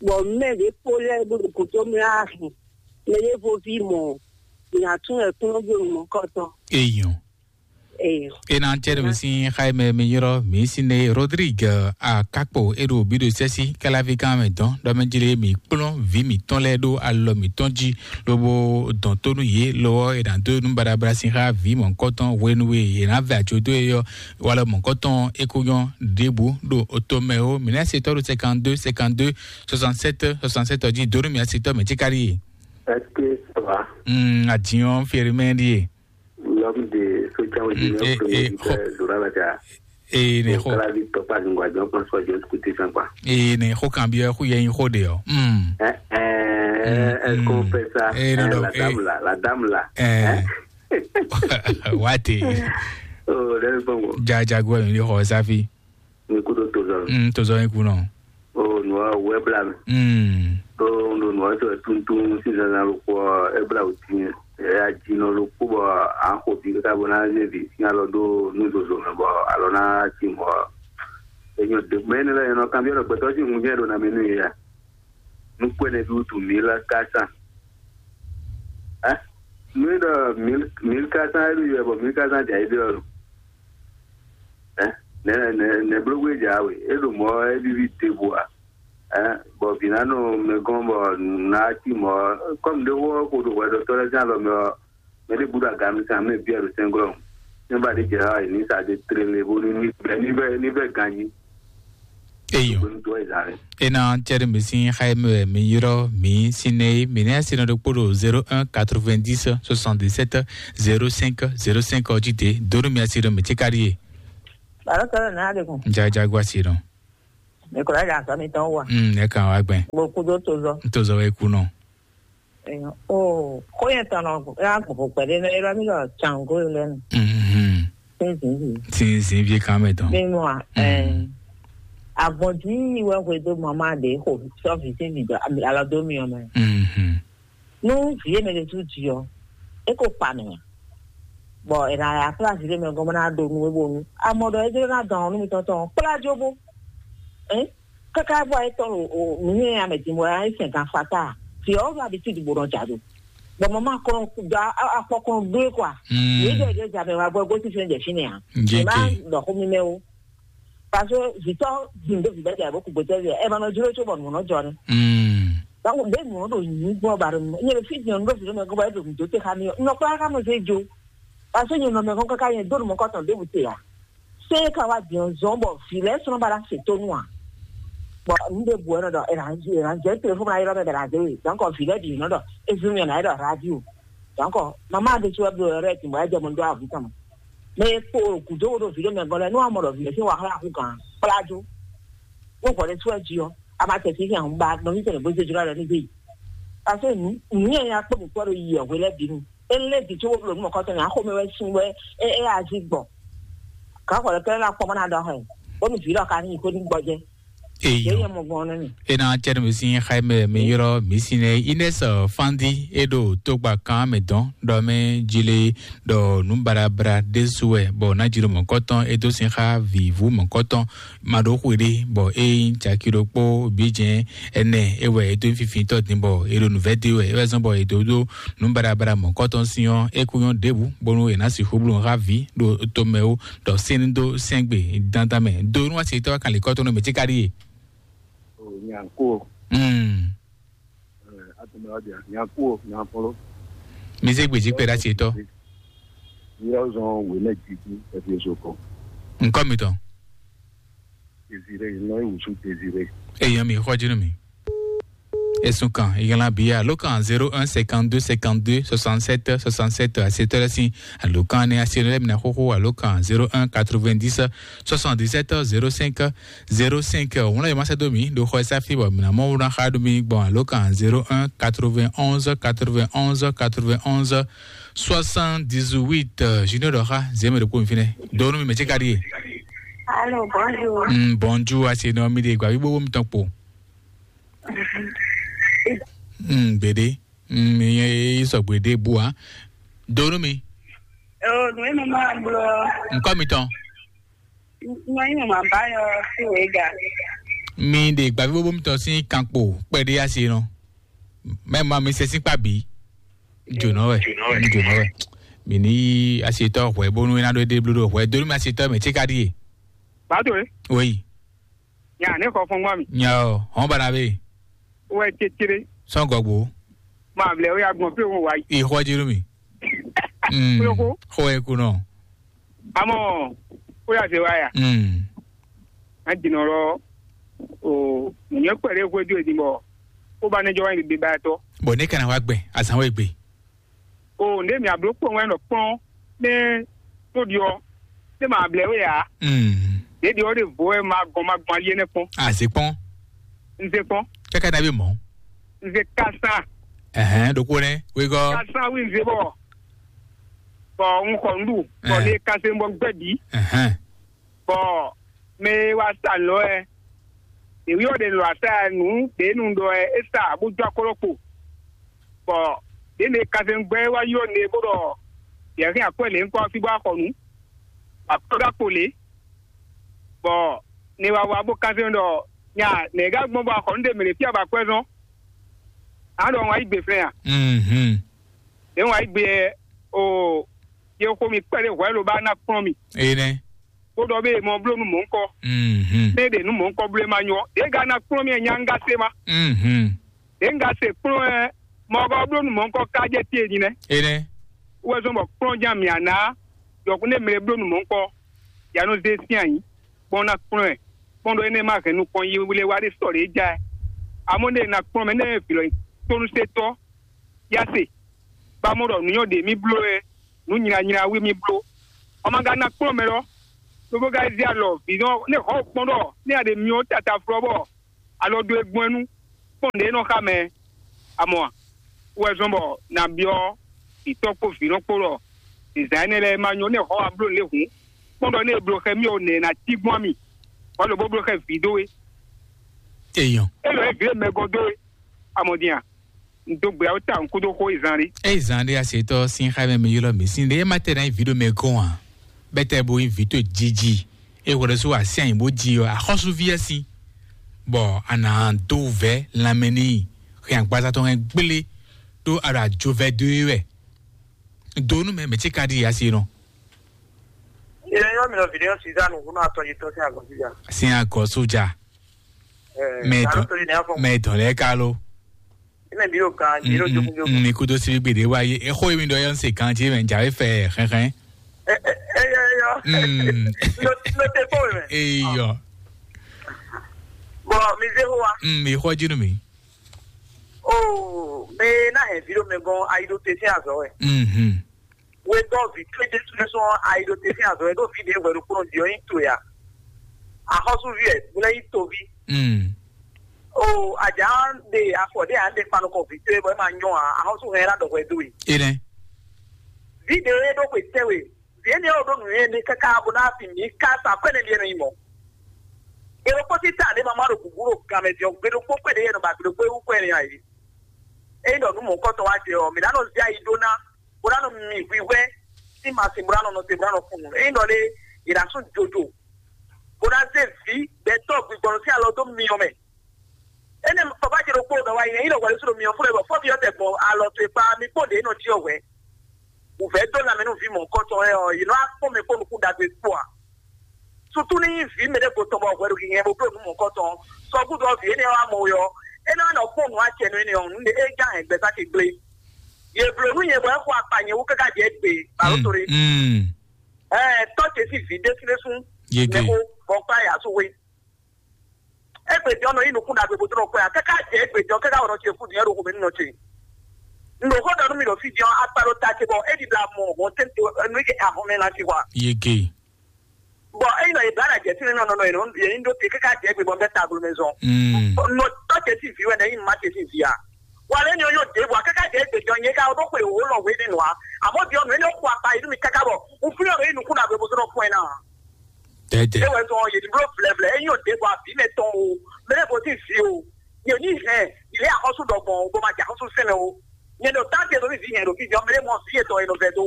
Bɔ mɛ ɖě kpó lɛ́ɛ bó ɖo gǔdo mɛ á hɛn. Mɛ ɖěvo ví mɔ̌, mǐ ná tún wɛ kplɔ́n bló nǔ mɔ̌kɔtɔn. Eyɔn. Eyɔn. Ena tɛ́ ɖo mi sín xá mɛ mi yrɔ́ mi sín ne Rodrigue Akakpo e ɖo bǐ ɖo sɛ́sí káláví gán mɛ dɔn ɖɔ mɛ jlé mi kplɔ́n vǐ mǐtɔn lɛ́ɛ ɖó alɔ mǐtɔn jí lobo dɔn tó nú yě lɔ ɔ́ è nǎ dó nú baɖabaɖa sín xá vǐ mɔ̌hunkɔtɔn hwenu e è nǎ vɛ ajo dó e ɔ́ walɔ mɔ̌hunkɔtɔn é kó nyɔ́ ɖěbǔ ɖo oto mɛ ó mǐ ná se tɔ́ ɖo cinquante-deux cinquante-deux soixante-sept soixante-sept ɔ́ jí dó nú mǐ ná se tɔ́ mɛ cí káɖí e. Est-ce que ça va? Mm, adìyàn fèrè mɛ ɖíe. L'homme de social media, mm, eh, eh, premier leader, Zora Laja. Eh, ne xo. Kala vi tɔkpa zungwa jɔ kpɔn sɔ jɔ kuti fɛn kwa. Eh, ne xo kan bi xo yɛ xo de ɔ. Mm. Eh, eh, mm, est-ce qu'on fait ça? Eh, non, eh, non, la dame là, la dame là. Eh. Hein? Wate. Oh, lẹ́nu gbọ̀ngàn. Jajago ẹ̀ ní xɔ sáfì. Ní kúdó tozɔ. Mm, tozɔ yín kú náà. O nua wɛ bla mi. Mm. O ndo nua tɔ tuntun sisan na lukpɔ ebla o tin. E a dzi nɔ lukpɔ bɔ a xo bi kaka bɔ na ze bi sin alɔ do nu zozo mɛ bɔ alɔ na ti mɔ. Enyo de mɛ ne la enɔ kan bi ɔlɔ gbɛtɔ si ŋun jɛ do na mi nu ya. Nu kwe ne bi utu mi la ka san. Hein? Mi do mil mil ka san e bi yɛ bɔ mil ka san ja e bi ɔlɔ. Ɛ nɛ nɛ nɛ blógbé dza we e ɖo mɔ e vivi te bu a. Ɛ bɔ vǐnánɔ mɛ gɔn bɔ nǔ ná cí mɔ kɔmi ɖé wɔ ko ɖo hwɛɖɔtɔ lɛ zán lɔ mɛ ɔ mɛ ɖé bu ɖo aga mi sàn mɛ bia ɖo sɛnglɔ. Ne ba ɖe dza e ní sa de tlele bo ní ní bɛ ní bɛ ní bɛ ganyi. Eyo. Ena cɛri mi sin xayi mi wɛ mi yrɔ mi sin ne mi ne sin ɖokpo ɖo zéro un quatre-vingt-dix soixante-dix-sept zéro cinq zéro cinq ɔdzi de donu mi asi ɖo mi tsi kari ye. Baro kɛlɛ na de kun. Jaja gua si ɖo. Mi kura ja sɔ mi tɔn wa. Mm, ne kan wa gbɛn. Bo kudo to zɔ. To zɔ wɛ ku nɔ. Eyo. O ko yɛ tɔn nɔ ya gbogbo kpɛɖe nɔ yrɔ mi lɔ tsango lɛ nu. Mhm. Sinzin vi. Sinzin vi kan mɛ tɔn. Mi mu a. Mm. Ɛ. Avɔdzi wɛ hwe do mama de xo sɔ vi sin vi do alɔ do mi ɔmɛ. Mhm. Nu vie mɛ ɖe tu dzi ɔ, e ko kpa mɛ nya. Bɔ e na ya kpla vi ɖe mɛ gɔn bɔ na ɖo nu e bo nu. Amɔ ɖɔ e jlo na dɔn nu mi tɔn tɔn kpla jo bo. Hein? Kaka bɔ etɔn o mi ne ya mɛ din bɔ ya sɛn kan fata. Ti o va bi ti di bo nɔ ja do. Bɔ mama kɔn da akpɔ kɔn do kwa. Ye de de ja mɛ wa bɔ go ti fɛn de fini ya. Jeke. Ma dɔ ko mi mɛ o. Parce que vitɔ din do vi bɛ de abo ku gbɛtɛ de. E ma nɔ juro cho bɔ mo nɔ jɔ ne. Donc be mo do nyi gbɔ ba do. Nye fi din do vi do mɛ go ba do do te ka mi. No kwa ka mo se jo. Parce que nye no mɛ ko ka nye do mo ko ton de bu te ya. Se ka wá din zɔn bɔ vi lɛ́ɛ sɔn ba la se tónú a. Bɔn nu ɖe bu ɛnɔ ɖɔ ɛnanjɛ telefɔni ayɔrɔ mɛ bɛ la de we. Donc vi lɛ́ɛ ɖi nɔ ɖɔ ezun yɔ na yɛ ɖɔ radio. Donc mama de tí wɛ bi wɛ rɛ ti mɔ ɛjɛ mo ɖo avu tɔn. Mɛ kpo gudo wo ɖo vi ɖo mɛ gɔn lɛ nu amɔ ɖɔ vi lɛ sin wa xla ku gan kpla jo. Wo xɔ ɖe tí wɛ ji ɔ ama tɛ si hɛn ba nɔ mi tɛ ne bo se jura lɛ ni de yi. Parce que nu nu yɛ ya kpɔ mi kpɔ ɖo yi ɔ hwe lɛ bi nu. Ele di tso woblo nu mɔkɔtɔ nya xɔmɛ wɛ sin wɛ e e azi gbɔ. Kan xɔ lɛ kɛ la kpɔmɔ na dɔ hɛ. Bɔ mi vi lɔ ka ni ko ni gbɔjɛ. Ye Eyo. Ye mo gbɔn ne mi. Ena cɛn mi sin xaimɛ mi yɔrɔ mi sin ne Ines Fandi e ɖo togba kan mɛ dɔn ɖɔ mɛ jile ɖɔ nu barabra ɖe su wɛ bɔ na jilo mɔkɔtɔn e do sin xa vivu mɔkɔtɔn ma ɖo xwe ɖe bɔ e nyi caki ɖokpó bíjɛn ɛnɛ e wɛ e dó fifitɔ din bɔ e ɖo nǔvɛ de wɛ e wɛ zɔn bɔ e dó dó nǔ baɖabaɖa mɔ̌kɔtɔn sín ɔ́, é kú nyɔ́ ɖěbǔ bónú è nǎ sixú bló nǔ xá vǐ ɖo tomɛ ó, ɖɔ sɛ́n ní dó sɛ́n gbe dandan mɛ. Do nú asitɔ́ kanlin kɔ́tɔn nú mɛ cíká ɖíe. Nyanko. Mm. Atɔmɛ wa dia nyanko nyankɔlɔ. Mi zé gbèjì kpɛ ɖe asitɔ́. Yíyá zɔn wèlé jiji ɛfieso kɔ. Nkɔ mi tɔn. Désiré, non, e wusu Désiré. Èèyàn mi, xɔjú nù mí. Ẹ̀sùn kan, ìyànlá bíi àlókàn zéro un cinquante deux cinquante deux soixante sept soixante sept àti tọ́lá sí àlókàn ní àti ẹ̀rọ ẹ̀mí náà xóxó àlókàn zéro un quatre vingt dix soixante dix sept zéro cinq zéro cinq. Òun náà yóò máa ṣe dó mi, dó xɔ ẹ sáfì bọ̀ mí náà mọ́ wúrà xá dó mi gbọ̀n àlókàn zéro un quatre vingt onze quatre vingt onze quatre vingt onze soixante dix huit. Junior dɔ̀xa zémè ɖo kó mi fínɛ. Dó nú mi mɛ tí ka ɖíe. Allô, bonjour. Mm, bonjour, ase nɔ mi de gba bi bobo mi tɔn kpo. Mm, gbede. Mm, mi ye sɔ gbede bua. Donu mi. Oh, no eno ma blo. Nkɔ mi tɔn. No eno ma ba yo si wega. Mi de gba bi bobo mi tɔn si kan kpo kpɛde ase nɔ. Mɛ ma mi se si kpa bi. Jonɔ wɛ. Jonɔ wɛ. Mi ni ase tɔ hwɛ bonu ina do de blo do hwɛ. Donu mi ase tɔ mɛ tse ka di ye. Ba to e. Oui. Nya ne xɔ fɔn gba mi. Nya o, hɔn bana be. Wɛ tsetere. Sɔn gɔgbo. Ma vlɛ o ya gbɔn pe wo wa yi. Ixɔ jiro mi. Mm. Kúlókó. Xɔ ẹ kunɔ. Amɔ, ó yà se wa ya. Mm. A jìnnà lɔ, o, nyɛ kpɛlɛ xwe do edin bɔ, ó ba ne jɔ wa yi bi ba tɔ. Bɔn ne kana wa gbɛ, azan wɛ gbɛ. O, ne mi ablo kpɔn wɛ nɔ kpɔn, ne tó di ɔ, ne ma blɛ wɛ ya. Mm. Ne di ɔ de vo wɛ ma gɔn ma gbɔn ali ne kpɔn. A se kpɔn. N se kpɔn. Kaka na bi mɔ. N se kasa. Ɛhɛn, ɖokpo nɛ, wegɔ. Kasa wi n se bɔ. Bɔ n xɔ n ɖu, bɔ ne kase n bɔ gbɛ bi. Ɛhɛn. Bɔ mɛ e wá sa lɔ ɛ, ɖěwi ɔ́ ɖe lɔ asa ɛ nǔ ɖě nu ɖɔ ɛ é sa bó jó akɔ́lɔ kpo. Bɔ ɖě ne kazɛngbɛ́ wá ylɔ́ ne bó ɖɔ yɛ̌ hɛn akwɛ́ lě ŋkɔ fí bó wá xɔ nǔ, akwɛ́ ɖó akpo lě. Bɔ ne wá wá bó kazɛn ɖɔ nya nɛ̌ gá gbɔn bó wá xɔ nǔ ɖe mɛ ɖě fí abɔ akwɛ́ zɔn. A ɖɔ wá yí gbe flɛ́n a? Mhm. Ɖě wá yí gbe o ye xo mi kpɛɖé hwɛ ló ba ná kplɔ́n mi. Enɛ. Kpódɔ bé mɔ bló nú mɔ̌ ŋkɔ. Mhm. Né ɖe nú mɔ̌ ŋkɔ bló ma nyɔ. Ɖě ga ná kplɔ́n mì nya ŋga se ma. Mhm. Ɖě ŋga se kplɔ́n ɛ mɔ gɔ bló nú mɔ̌ ŋkɔ ká jɛ tie nyi nɛ. Enɛ. Wɛ zɔn bɔ kplɔ́n jan mì ana. Yɔkun né mlɛ bló nú mɔ̌ ŋkɔ. Ya nɔ zé sín anyi. Kpɔ́n ná kplɔ́n ɛ. Kpɔ́n ɖɔ énɛ́ ma hɛn nukɔn yi wle wá ɖé sɔ ɖě ja ɛ. Amɔ̌ né na kplɔ́n mɛ né vǐ lɔ tónúsetɔ́. Ya se, ba mɔ ɖɔ nǔ nyɔ́ ɖě mì bló wɛ, nǔ nylanyla wí mì bló. Ɔ́ ma ka ná kplɔ́n mɛ lɔ, lobo ka zé alɔ vǐ nɔ ne xɔ kpɔ́n ɖɔ ne a ɖe myɔ tata flɔ bɔ alɔ dó e gbɔn ɛ nu kpɔ́n ɖě nɔ xa mɛ. Amɔ a? Wɛ zɔn bɔ na byɔ́ vǐtɔ́ kpó vǐ nɔ kpó ɖɔ zǐzán énɛ́ lɛ́ɛ ma nyɔ ne xɔ wa bló lě hǔn, kpɔ́n ɖɔ ne e bló xɛ mì ɔ́ nɛ̌ ná cí gbɔn mì, wá lobo bló xɛ vǐ dó we. Eyɔn. Élɔ́ é vǐ e mɛ gɔ́ dó we. Amɔ din a? N dó gbe awo ta n kúdó xó yi zan ɖé. Eyi zan ɖé asetɔ sin xa mɛ mi ylɔ mi sin ɖé ma tɛ na yi vi ɖo mɛ gɔn a? Bɛtɛ bo yi vi to jiji. E wɔ ɖe so asi anyi bo ji ɔ axɔsu vi asi. bɔ a nǎ dó vɛ̌ lanmɛ n'i hɛn agbaza tɔn hɛn gblé ɖó a ɖo ajo vɛ́ dó é wɛ. Do nú mɛ mɛ ce ka ɖi asi nɔ. Ilé yɔ mi nɔ vidéo Suzanne ŋun atɔn yi tɔ sí agɔn síjà. Sin agɔ sójà. Mɛ dɔn mɛ dɔn lɛ ka lo. Ina mi ro kan mi ro jogun jogun. Mi kudo si gbede wa ye exo mi dɔ yɔ se kan ti mɛ jawe fɛ xɛxɛ. Eyɔ eyɔ. Lo lo te kpɔ mi mɛ. Eyɔ. Bɔn mi zé xó wa. Mi xɔ jinu mi. Oh, mɛ ná hɛn vidéo mɛ gɔn ayiɖo te sín azɔ wɛ. Wegɔ́ vǐ towe Jesu nɛ́ sɔ́ ayi ɖo te sín azɔ̌ e ɖo fí ɖě hwɛ ɖokpónɔ din ɔ́ nyí towe a? Axɔ́súví wɛ, bó lɛ́ nyí toví. Mm. O, ajǎ ɖe afɔ ɖé ǎ ɖe kpa nukɔn vǐ towe bɔ é ma nyɔ́ ǎ, axɔ́sú hɛn ná ɖɔ hwɛ dó we. Énɛ́. Vǐ ɖě e ɖó xwe tɛ́nwe, vǐ énɛ́ ɔ́ ɖó nǔnywɛ́ ɖé káká bó ná fin mǐ ká sa akwɛ́ nɛ́ ɖíe nɔ nyí mɔ̌. È ɖokpó sín ta ɖě ma ma ɖo gǔgú ɖo gan mɛ din ɔ́, gbe ɖokpó kpé ɖě yɛ nɔ ba gbe ɖokpó é wú kwɛ́ nɛ́ ǎ é. Ényí ɖɔ nǔ mɔ̌hunkɔtɔn wá jɛ ɔ́, mǐ ná nɔ zé ayi ɖó ná bó ná nɔ mi hwihwɛ sín masin bó ná nɔ nɔte bó ná nɔ fun nǔ. Ényí ɖɔ lé, è nǎ sú jojo, bó ná zé vǐ gbɛtɔ́ gbigbɔnɔ sín alɔ dó myɔ mɛ. Énɛ́ baba ce ɖokpó ɖɔ wá yi, ényí ɖɔ hwɛɖésú ɖo myɔ fún ɛ bɔ fɔ́fi ɔ́ tɛ gbɔn alɔ towe kpá, mi kpó ɖě nɔ jí ɔ́ hwɛ̌. Wǔvɛ́ dó lanmɛ nú vǐ mɔ̌hunkɔtɔn lɛ́ɛ ɔ́, yě nɔ wá kpɔ́n mɛ kpó nukún ɖagbe kpó ǎ. Susu ní nyí vǐ mɛɖé gotɔn bɔ hwɛ ɖo hihɛn bó bló nǔ mɔ̌hunkɔtɔn. Sɔgúdɔ ɔ́, vǐ énɛ́ ɔ́ wá mɔ we ɔ́, é ná nɔ kpɔ́n nǔ acɛ nú énɛ́ ɔ́, nǔ ɖé é ján hɛn gbɛzán ce gblé. Yě bló nú nyɛ bɔ é xo akpa nyɛ wú káká jɛ égbé, balo tóre. Ɛɛ, tɔ́ ce sín vǐ ɖésúɖésú Yege. Nɛxó bɔ kpá yǎ sú we. Égbé jɔ́ nɔ nyí nukún ɖagbe bó dó nɔ kpɔ́n yǎ, káká jɛ égbé jɔ́ káká wɔ nɔ ce fú din é ɖo xomɛ nú nɔ ce. Un ɖo xó ɖɔ nú mi ɖo fí din ɔ́, akpa ɖo ta ce bɔ é ɖi ɖo amɔ hɔn tɛ́ntin nú é kɛ ahɔn mɛ ná ci hwa. Yege. Bɔn ényí nɔ Ibrahim jɛ fínɛ́ nɔ nɔ yě nyí ɖó te káká jɛ égbé bɔ bɛ́ tagblo mɛ zɔn. Nɔ tɔ́ ce sín vǐ wɛ nɛ nyí má ce sín vǐ a? Wà lɛ nyɔ yóò dé bɔ káká jɛ égbé jɔ nyɛ ká ɖó xwe wò lɔ wé nínú a? Àmọ́ bí ọ̀nà ẹni ó kó apá inú mi káká bọ̀, un fún ọ̀rọ̀ inú kúnlá bẹ bó tó lọ fún ẹ náà. Dɛdɛ. Ewɛ zɔn yèdí bló flɛflɛ, enyi ò dé bɔ àbí mɛ tɔn o, mɛ lɛ bó sì fi o. Yèdí hɛn, ilé àkọ́sù dɔ̀gbọ̀n o, bó ma jẹ àkọ́sù sẹ́nẹ̀ o. Nyɛ ɖo tá te lórí vi hɛn ɖo fífi ɔ́, mɛ lɛ mɔ sí etɔn e nɔ vɛ dó.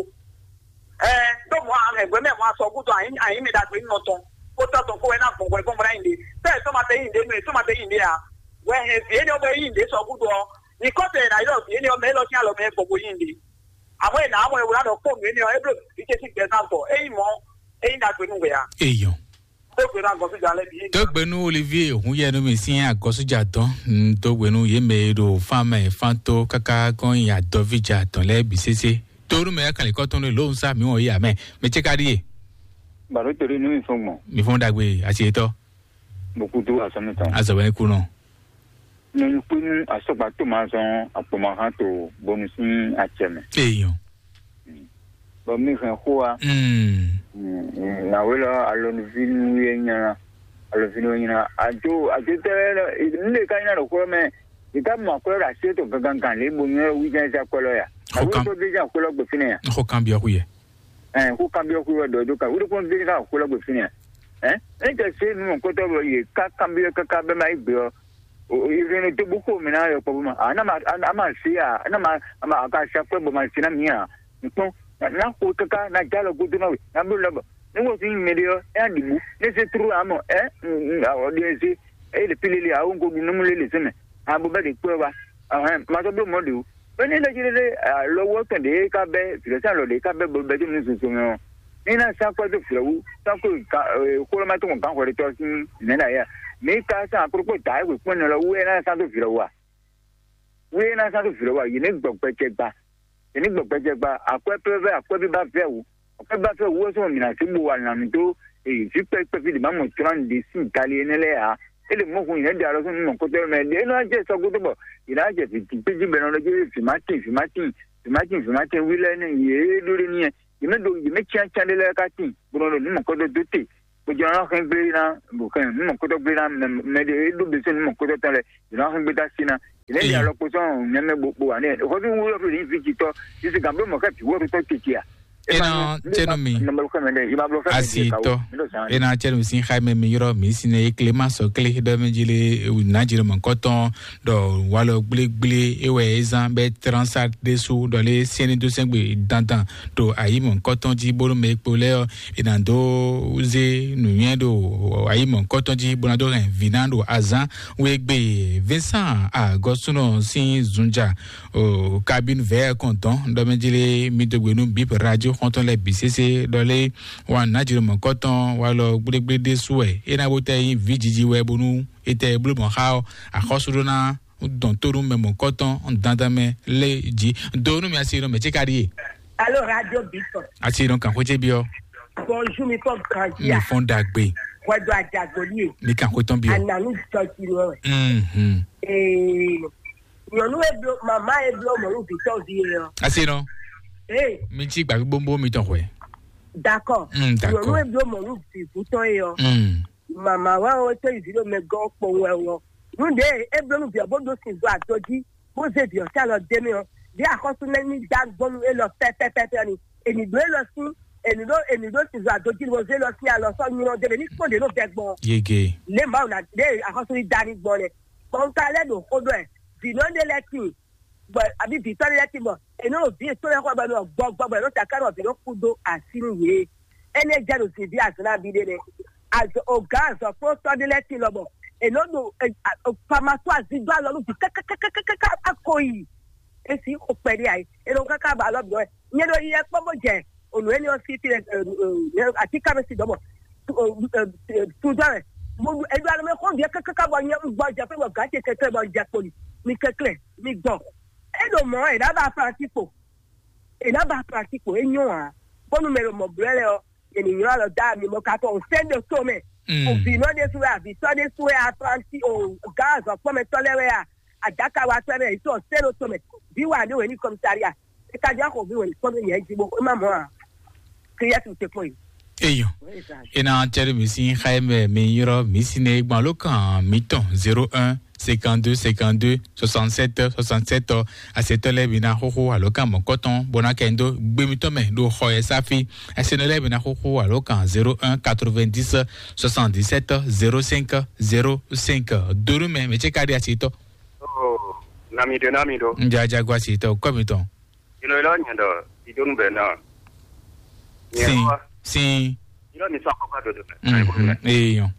Ɛ, ɖó mɔ ahɛn hwɛ mɛ mɔ asɔ gúdo ayi ayi mi ɖagbe nɔ tɔn. Kó tɔ tɔn kó wɛ ná gbɔn hwɛ gbɔn bla yin de. Tɛ sɔ ma tɛ yin de nɔ sɔ ma tɛ yin de a. Wɛ hɛn vi éni ɔ́ bɔ yin de sɔ gúdo ɔ́. Ni kɔ tɛ na yɔ vi éni ɔ́ mɛ lɔ sín alɔ mɛ gbɔ bo yin de. Àmọ́ ina amɔ ewúrẹ́ nɔ kpɔ́n nǔ éni ɔ́, é bló vi ce sín gbɛ zán gbɔ. É yin mɔ, é yin ɖagbe nú wɛ a. Eyɔn. Tó gbé ná gɔn sí jan lɛ bi. Tó gbé nú Olivier Hunyɛnu mi sín agɔsújà tɔn. Tó gbé nú yé mɛ e ɖo fán mɛ fán tó káká kɔn yin adɔvíjà tɔn lɛ bi sésé. Tó nú mɛ kanlin kɔtɔn lé lóhùn sá mi wɔn yé amɛ. Mɛ ce ka ɖi yé. Bàbá torí inú mi fún gbọ̀n. Mi fún dàgbé àti ètò. Mo kú tó àsán mi tán. Azɔ wɛ ní kú nɔ. Nínú kpínú asɔgba tó máa zɔn àpòmọ̀hán tó bónú sín acɛ mɛ. Eyɔn. Bɔn mi hɛn xó wa. Mm. Nàwé lɔ alɔnuví nú yé nyina, alɔnuví nú yé nyina. Àjò àjò tɛ nínú ka nyina ɖo xó mɛ. Ìka mɔ akwɛ́ ɖo así tó gangan lé bo nyɔ wí jɛn zɛ akwɛ́ lɔ ya. Xó kan. Àwé tó dé jɛn akwɛ́ lɔ gbè fínɛ ya. Xó kan biɔ xú yɛ. Ɛ, xó kanbyɔ́ xwé wɛ ɖɔ dó ka wúɖé kpɔ́n gbé ká xwé lɔ gbè fínɛ́. Ɛ, é tɛ sé nu mɔ̌kɔtɔ́ bɔ yě ká kanbyɔ́ káká bɛ́ ma yí gbé ɔ́, ìrɛnɛ dó bó xo mǐ ná yɔ kpɔ́ bó ma. A ná ma a má se a, a ná ma a ma a ka sa kwɛ́ bɔ ma se ná mǐ a. Nǔkpɔ́n ná xo káká ná já lɔ gúdo ná we ná bló lɔ bɔ ní wọ́n sín mɛ ɖé ɔ́, é ná ɖi bú ní é sé trú ǎ mɔ ɛ ɔ ɖe é sé é lè pí lélẹ̀ àwọn kò ɖu nú mú lélẹ̀ sɛ́mɛ. Abo bɛ́ ɖe kpɔ́ wa. Ɔhɛn, ma sɔ́ bló mɔ̌ ɖě o. Bɛ́ ní lɛ́ jí ɖé lé alɔwú ɔ́ tɔn ɖě ká bɛ́ vǐɖɔ́sán lɔ ɖě ká bɛ́ bɔ bɛ́ dó nǔ zozo mɛ ɔ́, ní ná sán kwɛ́ dó vǐɖɔ́wú, sán kó xólɔ́mátɔ́ gbǎn hwɛɖetɔ́ sín nɛ̌ ná yá. Mǐ ka sán akrókpó dǎ é hwe kpɔ́n nɔ lɔ wú é ná sán dó vǐɖɔ́wú a? Wú é ná sán dó vǐɖɔ́wú a? Yě ní gbɔ gbɛjɛ gba. Yě ní gbɔ gbɛjɛ gba. Akwɛ́ pɛ́ vɛ́ akwɛ́ bí ba vɛ́ wú. Akwɛ́ ba vɛ́ wú ɔ́ sɔ́ mǐ ná sí bo wa nǎ mì dó vǐ kpɛ́kpɛ́ fí ɖě má mɔ tlán ɖě sín gali énɛ́ lɛ́ɛ ǎ. É ɖe mɔ̌ hun nyɛ ɖe alɔ sɔ́ nú mɔ̌kútɔ́ mɛ ɖě nɔ jɛ sɔ́ gúdo bɔ yě ná jɛ vǐ tín jí bɛ́ nɔ ɖɔ jí vǐ má tín vǐ má tín vǐ má tín vǐ má tín wí lɛ́ɛ nɛ́ yě ɖó ɖé n'i yɛ yě mɛ ɖo yě mɛ cyán cyán ɖé lɛ́ɛ ká tín bó nɔ ɖo nǔ mɔ̌kútɔ́ dó te bó jɛ nɔ xɛn gblé ná bó xɛn nǔ mɔ̌kútɔ́ gblé ná mɛ mɛ ɖé é ɖó bɛsɛ́ nǔ mɔ̌kútɔ́ tɔn lɛ yě nɔ xɛn gbé dó así ná yě mɛ ɖe alɔ kpo sɔ́ nɛ́ mɛ bó bó wà nɛ hɔví wúlɔ fí ní vǐ citɔ yě sì gǎn bló mɔ̌ ká vǐ wóɖutɔ́ tete a Ena cɛnu mi. Asitɔ. Ena cɛnu sin xaime mi yɔrɔ mi sine eklema sɔkle ɖɔ mi jile najire mɔ kɔtɔn ɖɔ walɔ gblégblé ewɛ ezan bɛ transa ɖesu ɖɔ le sɛni dó sɛgbe dandan ɖo ayi mɔ kɔtɔn ji bónú mɛ kpo lɛ ɔ ena dó ze nuyɛ ɖo ayi mɔ kɔtɔn ji bónú adó hɛn vina ɖo azan wegbe. Vincent agɔsunɔ sin zunja o kabine vɛ kɔntɔn ɖɔ mɛ jile mi dó gbe nú bip radio xɔntɔn lɛ bi sese ɖɔ le wan najire mɔ kɔtɔn walɔ gblégblé ɖesu wɛ ena bó tɛ nyi vi jiji wɛ bónú etɛ bló mɔ xa ɔ axɔsu ɖó ná dɔn tó nú mɛ mɔ̌kɔtɔn dandan mɛ lé jí. Do nú mi asi nɔ mɛ tí ka ɖíe. Alo radio bitɔ. Asi nɔ kàn xwéjé biɔ. Bonjour mi fɔ mi grandi a. Fɔn dagbe. Wɛdo adagboli ye. Mi kàn xwétɔn biɔ. Ananu jɔ ti nɔ. Mhm. Ee. Nyɔnu e blo mama e blo mɔnu vitɔ vi ye ɔ. Asi nɔ. Ee. Mi tí gbàgbé bóbó mi tɔn xwɛ. D'accord. Mm, d'accord. Nyɔnu e blo mɔnu vitɔ ye ɔ. Mm. Mama wɛ o to yi vi ɖo mɛ gɔn kpɔn wɛ o. Nu ɖe e bló nu via bó ɖó sin zɔ adɔji bó zé via ɔ́ sí alɔ dé mɛ ɔ́, ɖé axɔ́sú nɛ́ ní dá gbɔn nú élɔ́ pɛ́pɛ́pɛ́pɛ́ ɔ́ ni. Ènì ɖó élɔ́ sín, ènì ɖó ènì ɖó sin zɔ adɔji bó zé élɔ́ sín alɔ sɔ́ nylɔ́ dé mɛ ní kpɔ́n ɖě nɔ vɛ gbɔn. Yege. Lě Mawu ná ɖé axɔ́sú ní dá ní gbɔn lɛ. Bɔn un ka lɛ́ ɖo xó ɖɔ ɛ, vǐ nɔ ɖé lɛ́ɛ tíin, bɔ abǐ vǐ tɔn lɛ́ɛ tíin bɔ è nɔ ɖo vǐ yětɔn lɛ́ɛ xɔ bɔ è nɔ gbɔgbɔ bɔ è nɔ taka nɔ vǐ nɔ kú dó así nú yě. Énɛ́ jɛ ɖo zǐnví azɔ̌ nabí ɖé nɛ́. Azɔ̌ ogǎn azɔ̌kplɔ́ntɔ́ ɖé lɛ́ɛ tíin lɔbɔ è nɔ ɖo pamató azigbá lɔ nú vǐ kákákákáká ko yi. Esi xo kpɛɖé ayi. È nɔ káká ba alɔ bǐ wɛ. Nyɛ ɖo yi yɛ kpɔ́n bó jɛ ònú énɛ́ ɔ́ sí fí atíká mɛ sí dɔ̌ bɔ tudɔ wɛ. Mo ɖu eɖo alɔ mɛ xɔ viɛ kɛkɛkɛ bɔ nyɛ un gbɔ jɛ fɛ bɔ gǎ ce kɛkɛ bɔ jɛ kpoli. Mi kɛklɛ, mi gbɔ. E ɖo mɔ e ɖa ba Francisco. E ɖa ba Francisco e nyɔ a. Bɔnu mɛ ɖo mɔ blɛ lɛ ɔ, e ni nyɔ alɔ da mi mɔ ka tɔ o sɛn ɖo to mɛ. O vi nɔ ɖe su wɛ, avi tɔ ɖe su wɛ, a Franci o gǎ azɔ kpɔmɛ tɔ lɛ wɛ a, adaka wa tɔ mɛ, e tɔ sɛn ɖo to mɛ. Bi wa ɖe wɛ ni kɔmisariya. E ka jɔ xɔ vi wɛ ni kpɔmɛ yɛ ji bo e ma mɔ a. Kiyɛsi te kpɔn yi. Eyo. Ena tɛri mi sin xaye mɛ mi yɔrɔ mi sin ne gbɔn alo kan mi tɔn zéro un cinquante-deux cinquante-deux soixante-sept soixante-sept. Asetɔ lɛ mi na xoxo alo kan mɔ kɔtɔn bona kɛ ndo gbe mi tɔn mɛ do xɔ yɛ safi. Asenɔ lɛ mi na xoxo alo kan zéro un quatre-vingt-dix soixante-dix-sept zéro cinq zéro cinq. Donu mɛ mɛ ce ka di asetɔ. Oh, nami do, nami do. Nja jago asetɔ kɔ mi tɔn. Ilo ilo nyɛ dɔ idonu bɛ na. Sin, sin. Ilo mi sɔ kɔkɔ dodo. Mhm. Eyan.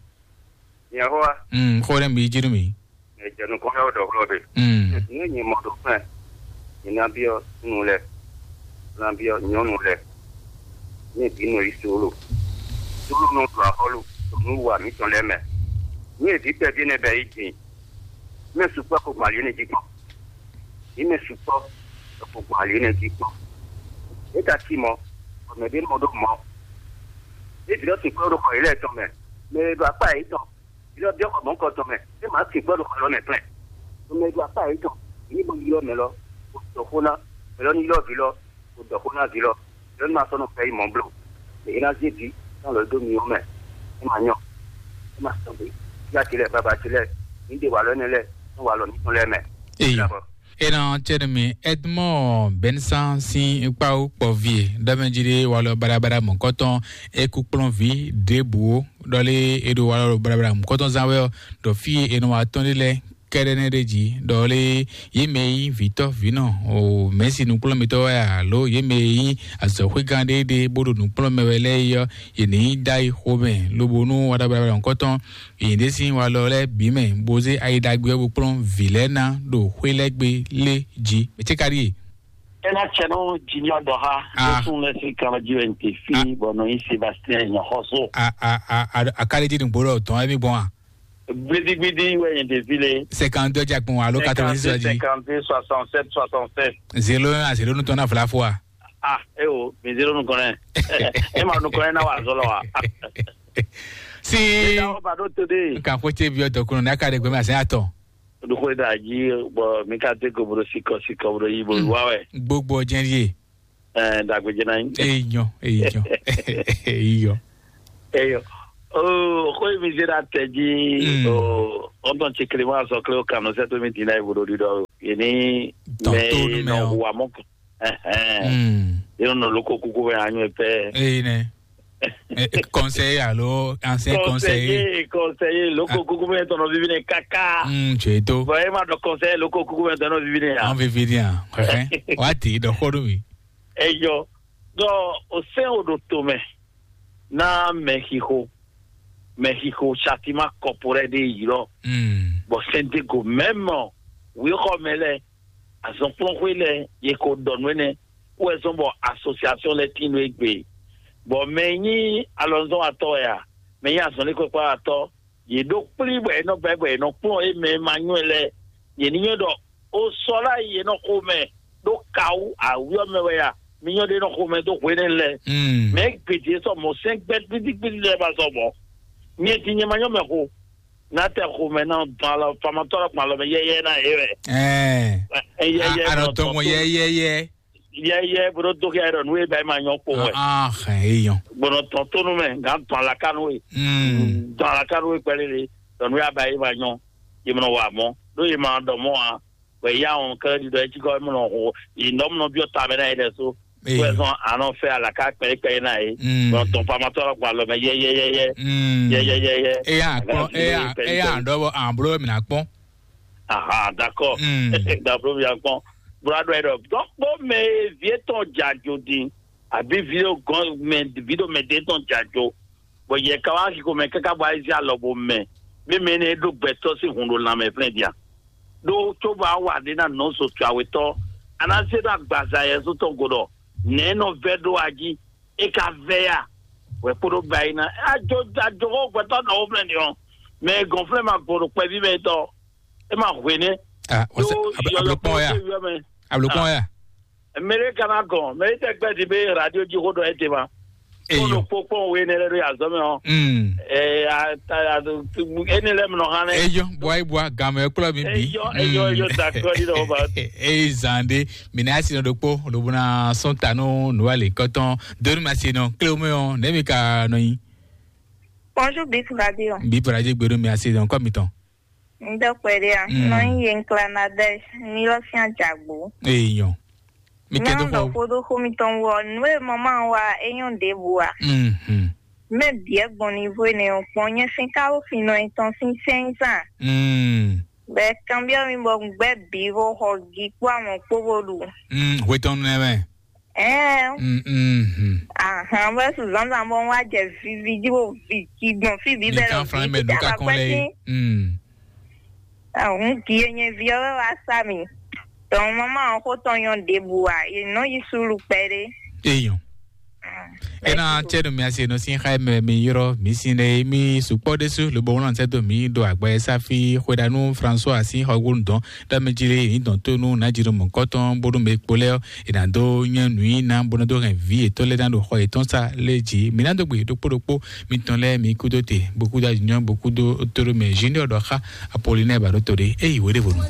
Yehowa. Mm, xó ɖé mi jínú mi. Ejɛnu kɔn yɔ dɔ xlɔ be. Mm. Ní nyɛ mɔ ɖo fɛn. Ní ná biɔ nú lɛ. Ná biɔ nyɔnu lɛ. Ní ebi nɔ yi solo. Solo nɔ ɖu axɔlu. Nú wa mǐtɔn lɛ mɛ. Ní ebi kpɛví nɛ bɛ yi jìn. Mɛ sukpɔ ko gbali ne jí kpɔn. Ní mɛ sukpɔ ko gbali ne jí kpɔn. É ka cí mɔ. Ɔmɛ ɖé mɔ ɖó mɔ. Ebi lɔ sukpɔ ɖo xɔ yi lɛ tɔn mɛ. Mɛ ɖo akpa yi tɔn. Ylɔ́ biɔ xɔ mɔ̌hunkɔtɔn mɛ, é ma kè gbɔ́ ɖo xɔ lɔ mɛ plɛ́n. Mɛ e ɖo akpá yětɔn, ní bó ylɔ́ mɛ lɔ, bó dɔ xó ná, mɛ lɔ ní ylɔ́ vǐ lɔ, bó dɔ xó ná vǐ lɔ, lɔ ní ma sɔ́ nɔ fɛ yi mɔ̌ bló. Mɛ é ná zé vǐ tɔn lɔ dó myɔ mɛ, é ma nyɔ, é ma sɔn gbé. Yá ce lɛ́ɛ, baba ce lɛ́ɛ, ní ɖe walɔ énɛ́ lɛ́ɛ, nú walɔ mǐtɔn lɛ́ɛ mɛ. Eyi. Dabɔ. Ena cɛnɛ mi Edmond Bensan sin kpawo kpɔvi e ɖɔmɛjiri walɔ barabara mɔkɔtɔn eku kplɔnvi ɖěbǔ ɖɔlé eɖo walɔ barabara mɔkɔtɔn zan wɛ ɔ ɖɔ fí e nɔ wa tɔn ɖe lɛ kɛɖɛ nɛ ɖe jí ɖɔlé yé mɛ yí vǐtɔ vǐnɔ o mɛsi nukplɔnmitɔ wɛ alo yé mɛ yí azɔxwégán ɖé ɖé bó ɖo nukplɔnmɛ wɛ lɛ́ɛ yi ɔ yě ní dá yi xomɛ lobo nú walɔ barabara mɔkɔtɔn Yě ɖe sín walɔ lɛ́ɛ bǐ mɛ, bó zé ayi ɖagbe ɔ́ bó kplɔ́n vǐ lɛ́ɛ ná ɖo xwé lɛ́ɛ gbe lé jí. Mɛ ce ka ɖíe? Ena cɛ nɔ junior dɔ ha. Ah. Ló sún lɛ sí kan jí wɛ n te fi bɔ nɔ yín Sébastien nyɔxɔsó. A a a a a ka lé jí nugbo lɔ tɔn ɛmí gbɔn a? Gbidigbidi wɛ n te fi le. Cinquante-deux jakpɔn alo quatre-vingt-six jí. Cinquante-deux, soixante-sept, soixante-sept. Zéro un à zéro nutɔn na fla fo a? Ah, e o, mi zéro nukɔn nɛ. E ma nukɔn nɛ na wa zɔlɔ wa. Si. Eda o ba do to de. Kan ko ce bi o to kunu na ka de gbe ma se ato. Do ko da ji bo mi ka te ko bro si ko si ko bro yi bo wa we. Gbogbo jɛn ye. Eh, dagbe jɛn na yi. Eyan, eyan. Eyan. Eyo. Oh, ko mi zera te ji. Mm. Oh, on ton ti Clément so kle o kanu se to mi dina e bro di do. Yeni. Ton me to no me no o. Wa mo. Eh, eh. Mm. Yɛn nɔ loko kuku mɛ anyɔ pɛ. Eyi nɛ. Eh, eh, conseiller alo ancien conseiller. Conseiller, conseiller, loko kuku mɛ tɔnɔ vivi nɛ kaka. Mm, tu es do. Bon, e ma dɔ conseiller loko kuku mɛ tɔnɔ vivi nɛ ya. An vivi dia. Wa ti dɔ xɔ do mi. Eyɔ. Donc, o sɛn o ɖo tomɛ na mɛxixo, mɛxixo satima kɔporɛ ɖe yi lɔ. Mm. Bɔ sɛndego mɛmɔ wixɔmɛ lɛ, azɔnkplɔnxwe lɛ, ye ko dɔ nú ɛnɛ wɛ zɔn bɔ association lɛ tin nú egbe. Bɔ mɛ nyi alɔnzɔn atɔ ya, mɛ nyi azɔnlikpɔkpɔ atɔ, ye ɖo kplí bɔ e nɔ gbɛ bɔ e nɔ kplɔn e mɛ ma nywɛ lɛ, ye ní nywɛ ɖɔ o sɔ la yi e nɔ xo mɛ ɖo kawu awuyɔ mɛ wɛ ya, mi nyɔ ɖe nɔ xo mɛ dó hwenɛ lɛ. Mm. Mɛ gbèdé sɔ mɔ sɛn gbɛ gbidi gbidi lɛ ba sɔ bɔ nyɛ ti nyɛ ma nyɔ mɛ xo, na tɛ xo mɛ na dɔn alɔ famatɔ la kpalɔ mɛ yɛyɛ na ye wɛ. Ɛɛ. Yɛyɛ a- anɔ tɔn mɔ yɛyɛyɛ. Yɛyɛ bro dókè ayé dɔ nú e ba yi ma nyɔ kpó wɛ. Ah, eyɔn. Gbɔnɔ tɔn tónú mɛ nka tɔn alaka nú e. Mm. Tɔn alaka nú e kpɛlɛ le dɔ nú e aba yi ma nyɔ, ye mɔ wa mɔ ɖó ye ma dɔ mɔ a wɛ ya wɔn kɛlɛ di dɔ etsi kɔ mɔ nɔ ho yi nɔ mɔ biɔ ta mɛ na ye dɛ so. Wɛ zɔn anɔ fɛ alaka kpɛ kpɛ na ye. Mm. Gbɔnɔ tɔn famatɔ la kpalɔ mɛ yɛyɛyɛ. Mm. Yɛyɛyɛ. Eya kpɔn eya eya dɔ bɔ an blo mi na kpɔn. Aha, d'accord. Mm. Dablo mi akpɔn. Bro adɔ yɛ dɔ. Donc kpɔ mɛ vie tɔn dzajo din. Abi video gɔn mɛ video mɛ de tɔn dzajo. Bɔ yɛ ka wa ki ko mɛ kaka bɔ ayi alɔ bo mɛ. Mi mɛ ne ɖo gbɛtɔ si hun ɖo lanmɛ flɛ dia. Ɖo tso ba wa ɖe na nɔ so tu awetɔ. Ana se ɖo agbaza yɛ so tɔn go dɔ. Nɛ nɔ vɛ ɖo aji. E ka vɛ ya. Wɛ kpo ɖo ba yi na. Ajo ajo ko gbɛtɔ nɔ wo flɛ ni ɔ. Mɛ gɔn flɛ ma gbɔ ɖo kpɛvi mɛ tɔ. E ma hwe nɛ. Ah, what's Yo, up? Ablo- yɔyɔ Ablo kpɔn ya. Ko yɔ mɛ. Ablo kpɔn ya. Mele kana gɔn, mele tɛ gbɛ di be radio ji ko dɔ e te ma. Eyo. Ko kpɔn we ne le do ya zɔmɛ o. Mm. Eh, a ta ya do ene le mno hane. Eyo, boy boy, game klo mi bi. Eyo, eyo, eyo, d'accord, di do ba. Ei zande, mi na si no dokpo, lo bona son tanu, no ale koton, donu ma si no, klo me o, ne mi ka no yi. Bonjour, Bip Radio. Bip Radio gbèrú mi asi dɔn kɔ mi tɔn. N dɔ kpɛ ɖe a. Mm. Nɔ nyi ye nkla na dɛ ni lɔ fia jagbo. Eyi nyɔ. Mi kɛ dɔ nɔ xɔ. Xo do xo mi tɔn wɔ nu e mama wa e nyɔ ɖe bu a. Mhm. Mɛ biɛ gbɔn ni vo ne o kpɔn nyɛ sin ka wo fin nɔ etɔn sin sɛn san. Mm. Bɛ kanbiɔ mi bɔ gbɛ bi vo xɔ gi kpɔ amɔ kpɔ vo ɖu. Mm, hwetɔn nɛ mɛ. Ɛɛ. Mm, mm, mm. Ahan, bɛ su zanzan bɔ wa jɛ vivi ji bo vi ki gbɔn fi bi bɛ lɔ kan flan mɛ nu ka kɔn lɛ yi. Mm. Ahun ki ye nye vi ɔwɛ wa sa mi. Tɔn mama ɔn ko tɔn nyɔ ɖebu wa ye nɔ yi sulu kpɛɖe. Eyɔn. Ena tsɛ ɖo mi asi nɔ sin xa mɛ mi yɔrɔ mi sin ɖe mi sukpɔ ɖe su lobo wɔn sɛ do mi ɖo agbɛ safi xwedanu François asi xɔ wonu dɔn ɖɔ mi dzi ɖe yi dɔn to nu na dzi ɖo mɔ kɔtɔn bonu mi kpo lɛ ɔ ena do nyɛ nu yi na bonu do hɛn vi etɔn lɛ na ɖo xɔ etɔn sa lɛ dzi mi na do gbe ɖokpo ɖokpo mi tɔn lɛ mi kudo te bokudo adzinyɔ bokudo to ɖo mɛ junior ɖɔ xa Apollinaire ba ɖo to ɖe eyi wo ɖe vonu.